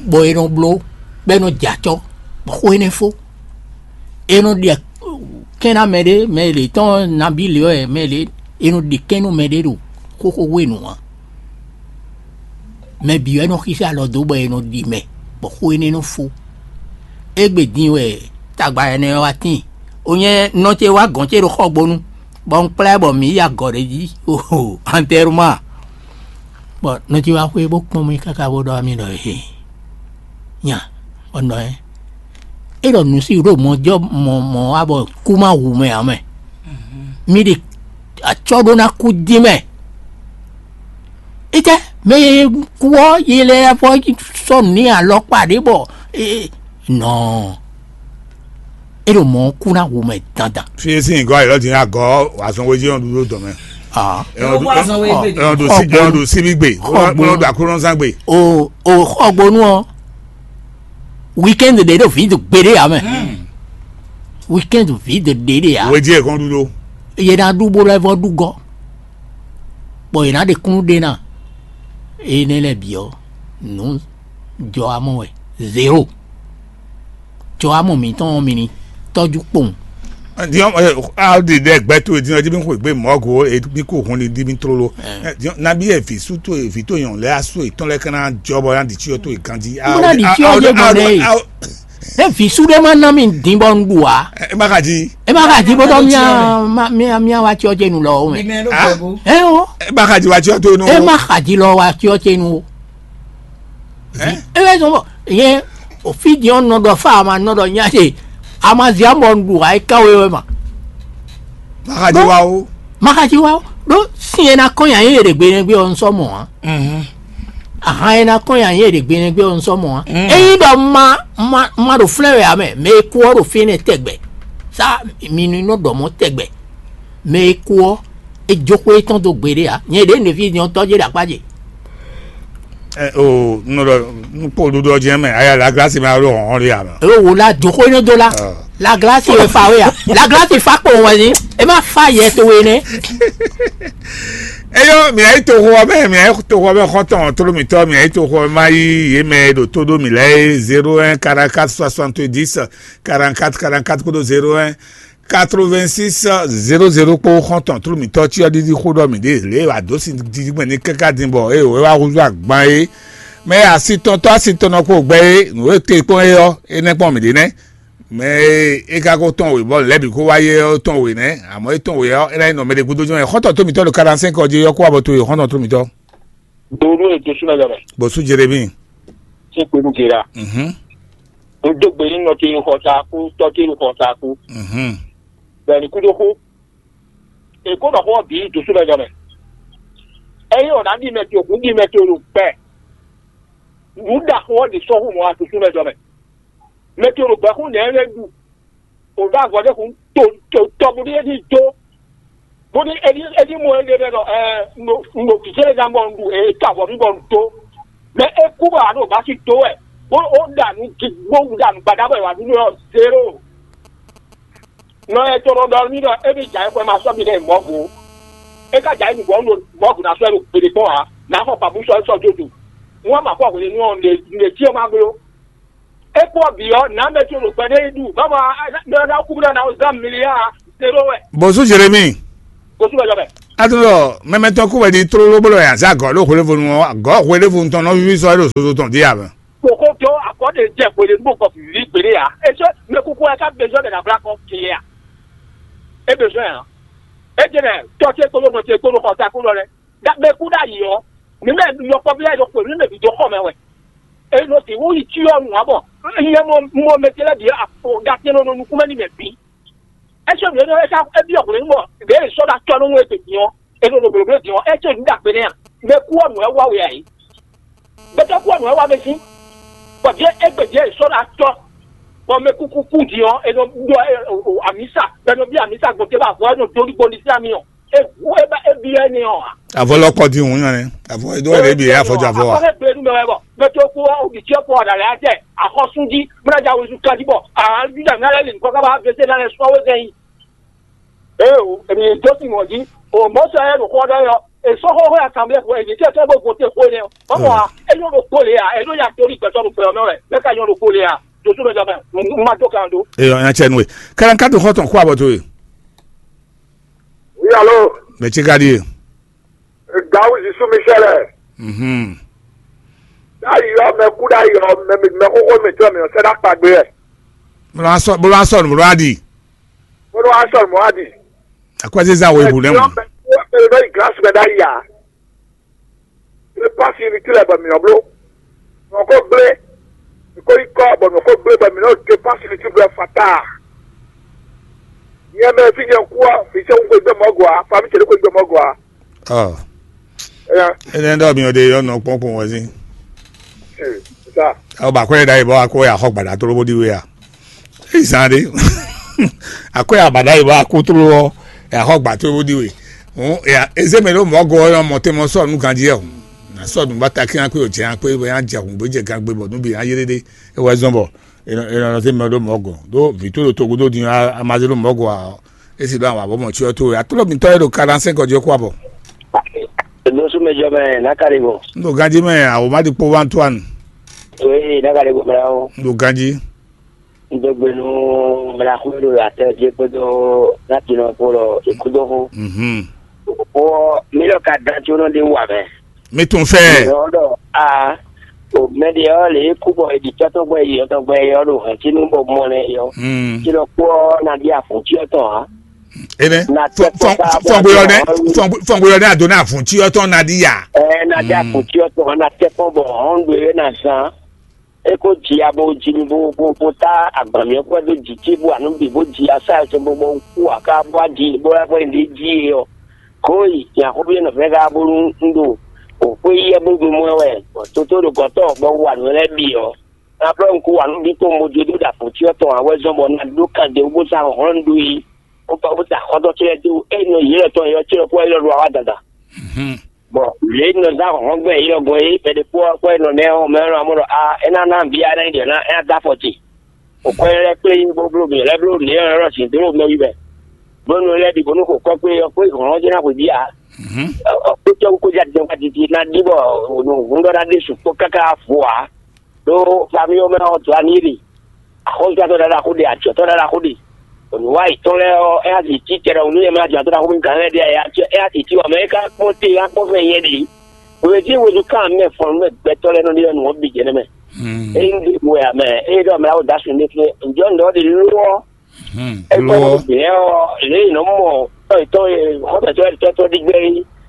Bɔ è nɔ bló bɔ è nɔ jɛ acɔ́ bɔ xó énɛ́ fó. È nɔ ɖe kɛ́n ná mɛ ɖé, mɛ lě tɔn nabí lě wɛ mɛ lě è nɔ ɖe kɛ́n nú mɛ ɖé ɖo xóxó hwenu ǎ. Mɛ bǐ wɛ nɔ xíxí alɔ dó bɔ è nɔ ɖi mɛ bɔ xó énɛ́ nɔ fó. Égbé din wɛ tagba énɛ́ ɔ́ wá tíin. O nyɛ nɔ ce wá gɔ̌n ce ɖo xɔgbónu, bɔ un kplá ɛ bɔ mǐ yi agɔ̌ ɖé jí oho antɛruma. Bɔ nɔ ce wá xwé bó kpɔ́n mì káká bó ɖɔ mì ɖɔ he nya bɔ nɔ ɛ. É ɖɔ nǔ sí ɖo mɔ jɔ mɔ mɔ wá bɔ kú má hu mɛ ǎ mɛ. Mì ɖi Acɔ́ ɖó ná kú dín mɛ. Étɛ́ mɛ e kú ɔ́, yi lɛ vɔ sɔ́ nǔ n'i alɔkpa ɖě bɔ nɔ é ɖo mɔ̌ kú ná wu mɛ dandan. Fi e sín nyǐgɔ́ ayǐ lɔ din agɔ̌ azɔn wéjí ɔ́ ɖu ɖó dɔ̌n mɛ. Ah. Ɛ ɔ́ ɖu- Ɔ́ wá azɔn wé gbé. Ɛ ɔ́ ɖu sí- ɛ ɔ́ ɖu síbí gbe. Xɔ ɛ ɔ́ ɖu aklúnɔzán gbe. O o xɔgbónú ɔ́, weekend ɖě ɖo vǐ gbeɖé ǎ mɛ. Weekend vǐ ɖě ɖě ǎ. Wéjí ɛ kɔn ɖu ɖó. Yě ná ɖu bó lɛ́ vɔ ɖu gɔ́, bɔ yě ná ɖe kúnnu ɖe ná. Énɛ́ lɛ́ɛ bǐ ɔ́, nǔ jɔ amɔ wɛ. Zéro. Jɔ amɔ mǐtɔn ɔ́ mi ní tɔ́jú kpowun. Diɔn, a ɖi ɖe gbɛ to din ɔdi mi xwe gbe mɔgo e mi ko hun ni di mi tlolo. Diɔn, nabi e vi su to e vi to yɔn lɛ asu e tɔn lɛ kana jɔ bɔ na di tsi to e ganji. Mo na di tsi ɔdi mo nɛ. Ne vi su ɖe ma na mi din bɔ n ɖu a. E ma ka di. E ma ka di bɔ dɔ mia mia mia wa tsi ɔdi nu lɔ o mɛ. Ɛ o. E ma ka di wa tsi ɔdi nu. E ma ka di lɔ wa tsi ɔdi nu o. E bɛ sɔn bɔ yɛn o fi di ɔn nɔ dɔ fa ma nɔ dɔ nya de. A ma zi amɔ n ɖu a yi kan we wɛ ma. Makaji wa o. Makaji wa o. Ɖo sin e na kɔn nya yɛ ɖe gbe nɛ gbe ɔ n sɔ mɔ a. Ahan e na kɔn nya yɛ ɖe gbe nɛ gbe ɔ n sɔ mɔ a. Eyi ɖɔ ma ma ma ɖo flɛ wɛ a mɛ mɛ e kú ɔ ɖo fi nɛ tɛgbɛ. Sa mi nu nɔ ɖɔ mɔ tɛgbɛ. Mɛ e kú ɔ́, é jó xwé tɔn dó gbeɖé ǎ. Nyɛ ɖě nǔví nyɔ̌tɔ́ jé ɖo akpá ce. O nɔ ɖɔ nukpó ɖuɖɔ jɛ mɛ aya la glasi ma ɖo hɔn ɖe ama. É wò la jó xwé nɔ dó la. La glasi wɛ fa wé a. La glasi fa kpo wɛ ni. É má fa yɛ to wé nɛ. Eyɔ mìa yi toxo ɔbɛ mìa yi toxo ɔbɛ xɔtɔn tolomitɔ mìa yi toxo ɔbɛ ma yi yé mɛ ɖo tó ɖó mì lɛ zéro un quarante quatre soixante dix quarante quatre quarante quatre kódó zéro un quatre-vingt-six zéro zéro kpó xɔ́ntɔn tlú mǐtɔn cyɔ ɖiɖi xó ɖɔ mǐ ɖe lě e wǎ dó sin dídí gbɛn ní káká din bɔ é wǒ é wá húzú agban é. Mɛ e asitɔntɔ́ asitɔnɔ kpo gbɛ é nǔ e te kpɔ́n é ɔ́, é nɛ́ kpɔ́n mǐ ɖe nɛ́. Mɛ e é ka ko tɔn wě bɔ lɛ̌ bǐ kó wá yé ɔ́ tɔn wě nɛ́, amɔ̌ é tɔn wě ɔ́, é ná nyí nɔ mɛ ɖé gúdo jɔ́n ɛ xɔ́ntɔn tó mǐtɔn ɖo kaɖansɛ́n kɔ jí yɔ́ kó wá bɔ to e xɔ́ntɔn tó mǐtɔn. Donu e to súnmɛ jɔ mɛ. Bɔsú Jeremi. Sín kpenu gera. Mhm. Un dó gbe nú nɔ ce e xɔ ta kú, tɔ́ ce e xɔ ta kú. Mhm. Bɔ è ní kú dó xú. È kó nɔ xó ɔ́ bǐ ɖo súnmɛ jɔ mɛ. Ényí ɔ̌ ná ɖi mɛ ce, hǔn ɖi mɛ ce ɖo gbɛ. Nǔ ɖaxó ɔ́ ɖě sɔ́ hú mɔ̌ wá ɖo súnmɛ jɔ mɛ. Mɛ ce ɖo gbɛ xú nɛ̌ lɛ́ɛ ɖu. Wǒ ɖó avɔ ɖé hun to to tɔ bó ɖí é ní dó, bó ɖí é ní é ní mɔ éɖée ɖɔ ɛ un ɖo un ɖo vǐ ce lɛ́ɛ ná bɔ un ɖu e ka avɔ mì bɔ un dó. Mɛ é kú bɔ a ɖo bá sí dó wɛ, bó ó ɖa nǔ gi bó ɖa nǔ gbadá bɔ è wǎ ɖu nú ɛ zéro. Nɔ ɛ tɔn ɖɔ n'i ɖɔ émí jǎ é xwɛ ma sɔ́ mi ɖɛ mɔ̌go. É ka jǎ é nǔgbɔ un ɖo mɔ̌go ná sɔ́ ɛ ɖo gbeɖé kpɔ́n ǎ, nǎ xɔ pǎbú sɔ́ é sɔ́ jó do. Wọ́n ma kɔ hwenu ɔ́, nǔ e jí ɔ́ ma bló. É kpɔ́ bǐ ɔ́, nǎ mɛ ce ɖo gbɛ ɖé yi ɖu, báwo a ná kú bó ná zán miliya zéro wɛ. Bɔsú Jeremi. Kò súnmọ́ jọ mɛ. Atúndọ̀ mɛmɛtɔ kú wɛ di tlóló bó lɔ yà zá gɔ̌ ɖó hwelevonu ɔ́, gɔ̌ hwelevonu tɔn nɔ víví sɔ́ é ɖo zozo tɔn dí ǎ mɛ. Kòkó tó akɔ́ ɖe jɛ hwelevonu kɔ vǐví gběɖé ǎ. É sɔ́ mɛ kúkú wɛ ká bezɔ́ ɖe nǎ blá kɔ kele ǎ. É bezɔ́ ǎ. É jɛ nɛ tɔ́ ce kpódó nɔ ce kpódó xɔ ta kpódó lɛ. Mɛ kú ɖ'ayǐ ɔ́, mǐ mɛ yɔkpɔ́vú lɛ́ɛ ɖo xwě mǐ mɛ bǐ dó xɔ mɛ wɛ. È nɔ sixú yi cyɔ nǔ ǎ bɔ nyɛ mɔ mɔ mɛ ce lɛ́ɛ bǐ ɖa tɛn nɔ nukún mɛ n'i mɛ bǐ. É sɔ́ nǔ énɛ́ é ká é byɔ́ hwlɛ̌n bɔ ɖěe è sɔ́ ɖo acɔ́ nú wɛ din ɔ́, è nɔ ɖo blǒbló din ɔ́, é sɔ́ nǔ ɖo agbe nɛ́ a? Mɛ kú ɔ́ nǔ wɛ wa we ǎ é. Gbɛtɔ́ kú ɔ́ nǔ wɛ wa mɛ sín, bɔ jɛ égbé jɛ è sɔ́ ɖo acɔ́, bɔ mɛ kúkú kú din ɔ́, è nɔ ɖɔ amǐsa, bɔ è nɔ byɔ́ amǐsa gbɔn ce bɔ avɔ é nɔ dó ní gbɔn ní sín ami ɔ́. Ehu e ba e bi wɛ ni ɔ. Avɔ lɔ kɔ di ŋu nyɔ nɛ. Avɔ edo wɛ de bi afɔ jɔ avɔ wa. Akɔkɛ gbe nu mɛ wɛ bɔ mɛ to ko o bi tiɛ ko ɔda lɛ ajɛ akɔsun di mɛ na ja wusu kan di bɔ aa juda mi alɛ li nkɔ kaba vese na lɛ sɔ wɛ gɛn yi. Ee o emi do si mɔ di o mɔ sɔ yɛ do kɔ dɔ yɔ esɔ xɔ xɔ ya kan bɛ ko emi tiɛ tɔ bo go te ko nɛ o mɔ a enyo do ko le a eno ya tori gbɛtɔ do gbɛ mɛ wɛ mɛ ka nyɔ do ko le a do so mɛ jɔ mɛ ma do kan do. Eyɔ nya cɛ nu e kalan ka do xɔ tɔn ko abɔ to ye. Oui, allô? Mɛ ce ka ɖíe? Gawuzi Sumisɛlɛ. Mhm. Ɖ'ayǐ ɔ́, mɛ kú ɖ'ayǐ ɔ́, mɛ mɛ xóxó mǐtɔn mǐ nɔ sɛ́ ɖó akpagbe wɛ. Bó ló wá sɔ bó ló wá sɔ nǔ bó ló wá ɖi. Bó ló wá sɔ nǔ bó wá ɖi. Akwɛ́zézá wo ibu lɛ́ mɔ. Mɛ kú mɛ ɖó yi gílási mɛ ɖ'ayǐ ǎ. Mɛ pasi ní tilẹ̀ bɔ mǐ nɔ bló. Mǐ nɔ ko gblé. Mǐ ko yi kɔ bɔ mǐ nɔ ko gblé bɔ mǐ nɔ dé pasi ní tilẹ̀ fata. Nyɛ mɛ fi nyɛ kú a, fi sɛ wungbe gbɛ mɔ gɔ a, fa mi cɛ ko gbɛ mɔ gɔ a. Ɔ, Ɛya, ɛnɛ ɖɔ mi ɔde yɔ nɔ kpɔn kpɔn wɔ zin. Sa. Ɔ ba kɔ da yi bɔ akɔ ya xɔ gbada tolo bo di we a. Izan de. Akɔ ya bada yi bɔ akɔ tolo ɔ ya xɔ gba tolo bo di we. Hɔn ya eze mɛ ɖo mɔ gɔ ɔ mɔ te mɔ sɔ nu ganji ɛ o. Na sɔ nu ba ta kí akpé o jɛ akpé ya jɛ hun bó jɛ gangbe bɔ nu bi ya yé ɖe. E wɛ zɔn bɔ e nɔ e nɔ se mɛ ɖo mɔ gɔ. Do vi to ɖo togo do din a ma se ɖo mɔ gɔ a. Esi ɖo àwọn àbọ̀mọ̀ tí ó tó atúlọ̀ mi tọ́ ẹ ɖo quarante-cinq ọjọ́ kó àbọ̀. Lóṣù mẹ́jọ mẹ́ nákàlẹ́ bọ̀. N ɖo ganjí mɛ àwòmá ɖi kpó wá tó àná. Oye nákàlẹ́ bọ̀ mẹ́ra o. N ɖo ganjí. N dó gbenu mẹ́ra kú ló atɛ jẹ́ kpódó láti nọ kó lọ ìkúdó kú. Mhm. Wọ́ mílíọ̀nù ka dán tí ó nɔ dé wà mẹ́. Mi tún fẹ́. Ìyọ́ lɔ a o mɛ ɖe ɔ́ lě kú bɔ è ɖi tɔ́tɔ́gbɛ yi ɔtɔgbɛ yi ɔ́ ɖo hɛ̌ntínu bɔ mɔ nɛ yɔ. Mm. Tí lɔ kpó ɔ́ ná ɖi afɔ̌ncyɔ́ tɔn ǎ. Ene Na tɛ kpɔ́n ká bɔ fɔngbeyɔ nɛ ɔ́ fɔngbeyɔ nɛ ado na fun tí ɔtɔn na di ya. Ɛ na ɖi Mm. afɔ̌ncyɔ́ tɔn ná tɛ kpɔ́n bɔ hɔn ɖo é na zán. É kó ji abo ji bo bo bo tá agbǎn mì ɔ́ kpɛ́ dó jǐ ce bó anu bǐ bó ji asá ɛ cɛ bó bó kú aká bó aji bó wá bó ɖi jí é ɔ́. Kó yi nyaxóví nɔ fɛ́ ká bónú un ɖo wǒ xwé yi ɛ bó gbe mɔ ɛ wɛ, bɔ toto ɖo gɔ̌tɔn bɔ un wa nǔ lɛ́ɛ bǐ ɔ́, un ná blɔ́ un kú wa nǔ bǐ kpowun bó dó ɖo afɔ̌ncyɔ́ tɔn ǎ wɛ zɔ́n bɔ un ná ɖó kan ɖě wú bó sá hlɔ̌n un ɖó yi, bó ba bó sa xɔ́ntɔn ce lɛ́ɛ dó ényí nɔ yě lɔ tɔn é ɔ́, ce lɔ kú wɛ é lɔ ɖo awa dandan. Bɔ lě e nɔ zán hlɔ̌nhlɔ́n gbɛn yě lɔ gbɔn é, mɛ ɖé kpó ɔ́ kpó é nɔ nɛ́ ɔ́, mɛ ɔ́ nɔ mɔ ɖɔ a é ná ná nǔ bia ná ɖi ɔ́ ná é ná dó afɔ ce. Xɔ kwɛ́ lɛ́ɛ kplé bó bló mǐ lɛ́ bló nǔ e ɔ́ sin dó mɛ wí mɛ. Bónú lɛ́ɛ bǐ bónú xo kɔ́ kpé ɔ́ kpé hlɔ̌n ɔ́ jɛ́n ná xweyǐgbe ǎ. Ɔ kpé cɔ́ kó já dín wá titi ná ɖi bɔ nǔhúndɔ́ ná ɖésú kpó káká vo ǎ. Ɖó famíwo mɛ ɔ́ dó aní ɖe. Axɔ́súzatɔ́ ɖaɖa xó ɖe, ajɔ̌tɔ́ ɖaɖa xó ɖe. Nǔwa yětɔn lɛ́ɛ ɔ́, é ná zǐ cí tɛɖɔhun nú yɛ mɛ ajɔ̌tɔ́ ɖaxó mɛ gǎn lɛ́ɛ ɖe aya cɛ é ná zǐ cí wǎ mɛ é ka kpɔ́n te é ná kpɔ́n fɛ nyɛ ɖe. Hwelěcí hweɖú kan mɛ fɔn nú mɛ gbɛtɔ́ lɛ́ɛ nɔ ɖe ɔ́ nǔ ɔ́ bǐ jɛ nɛ́ mɛ. Ényí ɖe wɛ ǎ mɛ, ényí ɖɔ mɛ awo dǎ sun ɖé fínɛ́, ǹjọ́ nǔ ɖɔ ɖe ló ɔ́, é kpɛ́ Ló nú bǐ lɛ́ɛ ɔ́, lě e nǔ mɔ tɔ́ yětɔn e xɔ́mɛtɔ́ yětɔn ɖi gbɛ́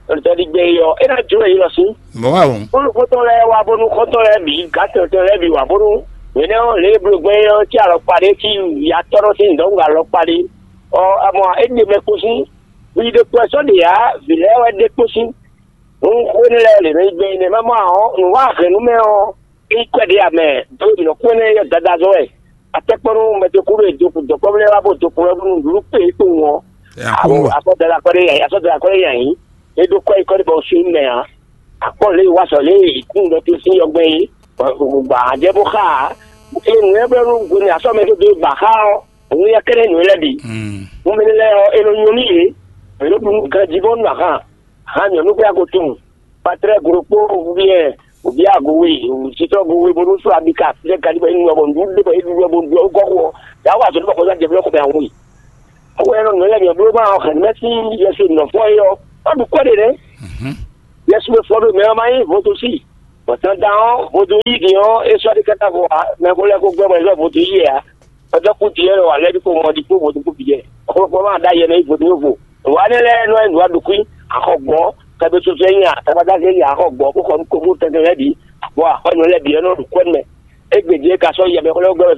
é, tɔ́ ɖi gbɛ́ é ɔ́, é ná jló yě lɔ sín. Mɔ̌ wá wɔn. Bónú xɔ́ntɔn lɛ́ɛ wá bónú xɔ́ntɔn lɛ́ɛ bǐ, gǎtɔ́tɔn lɛ́ɛ bǐ wá bónú hwenɛ́ ɔ́, lě e bló gbɛ́ é ɔ́ cí alɔkpa ɖé cí yatɔ́ nɔ sín dɔ̌nkpɛ alɔkpa ɖé. Ɔ, amɔ é ɖe mɛ kpo sín, hwi ɖokpó wɛ sɔ́ ɖe ǎ, vǐ lɛ́ɛ wɛ ɖe kpo sín. Hǔn xó énɛ́ lɛ́ɛ lě nɔ nyí gbɛn énɛ́ má mɔ ǎ ɔ́, nǔ wa hɛn nú mɛ ɔ́, é nyí kwɛ́ ɖé ǎ mɛ, ɖó mǐ nɔ kú énɛ́ yɔ dadá zɔ́n wɛ. Atɛ́kpɔ́nú mɛ dó kú ɖo dɔkpɔ́vú lɛ́ɛ wá bó dó kú wɛ bónú nǔɖuɖu kpé é kpowun ɔ́. Ɛ, a kú Awo bɔ. Afɔdala kɔ́ ɖé nyi ayǐ, afɔdala kɔ́ ɖé nyi ayǐ. É ɖó kɔ́ yi kɔ́ ɖé bɔ un sin mɛ ǎ. Akpɔ́ lě e wa sɔ lě e kún ɖɔ te sín yɔgbɛ́n é, gbǎ jɛ bó xá ǎ. É nǔ lɛ́ɛ blɔ́ nú hwenu e asɔ́ mɛ tó dó gbǎ xá ɔ́, òun yɛ kɛ́ɖɛ́ nǔ lɛ́ɛ bǐ. Nú mɛ lɛ́ɛ ɔ́, é nɔ nyɔ́ nú yě, è nɔ ɖu nú ganjí bɔ nú ahan, ahan nyɔ̌nu xwé ago tunwun, patlɛ́ glo kpó vúvú yɛ, òbí ago we, òsítɔ́ go we, bónú sɔ́ abika fínɛ́ galí bɔ é nu wɛ bɔ nǔɖuɖu ɖé bɔ é ɖu wɛ bó ɖu ɔ́, ó gɔ́ xo ɔ́, yǎ wa azɔ̌ ɖé bɔ xɔzán jɛ blɔ́ xɔ mɛ awo yi. Ó wɛ nɔ nǔ lɛ́ɛ nyɔ bló ma ɔ́ hɛn mɛ sín yɛsu nɔ fɔ é ɔ́, ɔ́ ɖu kɔ́ ɖe nɛ́. Yɛsu e fɔ ɖo mɛ ɔ́ ma nyí vodúnsi, bɔ dandan ɔ́, vodún yí din ɔ́, é sɔ́ ɖi káká vo ǎ, mɛ ko lɛ́ ko gbɛ́ bɔ é zɔ́ vodún yí ɛ ǎ. Ɔ́ dɔ́ kú din ɔ́ lɔ ǎ lɛ́ɛ ní ko mɔ ɖi kpó vodún kú bǐ jɛ. Xlɔ́kpɔ́ ma ɖ'ayɛ mɛ yí vodún yó vo. Nǔwa énɛ́ lɛ́ɛ nɔ nyí nǔwa ɖo kwí, axɔ gbɔn, kɛbɛsosɔ nyí a, tabadáze nyí axɔ gbɔn, bó xɔ nú kogbó tɛnmɛ lɛ́ɛ bǐ, bɔ axɔ́ nyɔ lɛ́ɛ bǐ ɔ́ nɔ ɖo kwɛ́ mɛ. Égbé din é ka sɔ́ yɛ mɛ xlɛ́ gbɛ́ wɛ sɔ́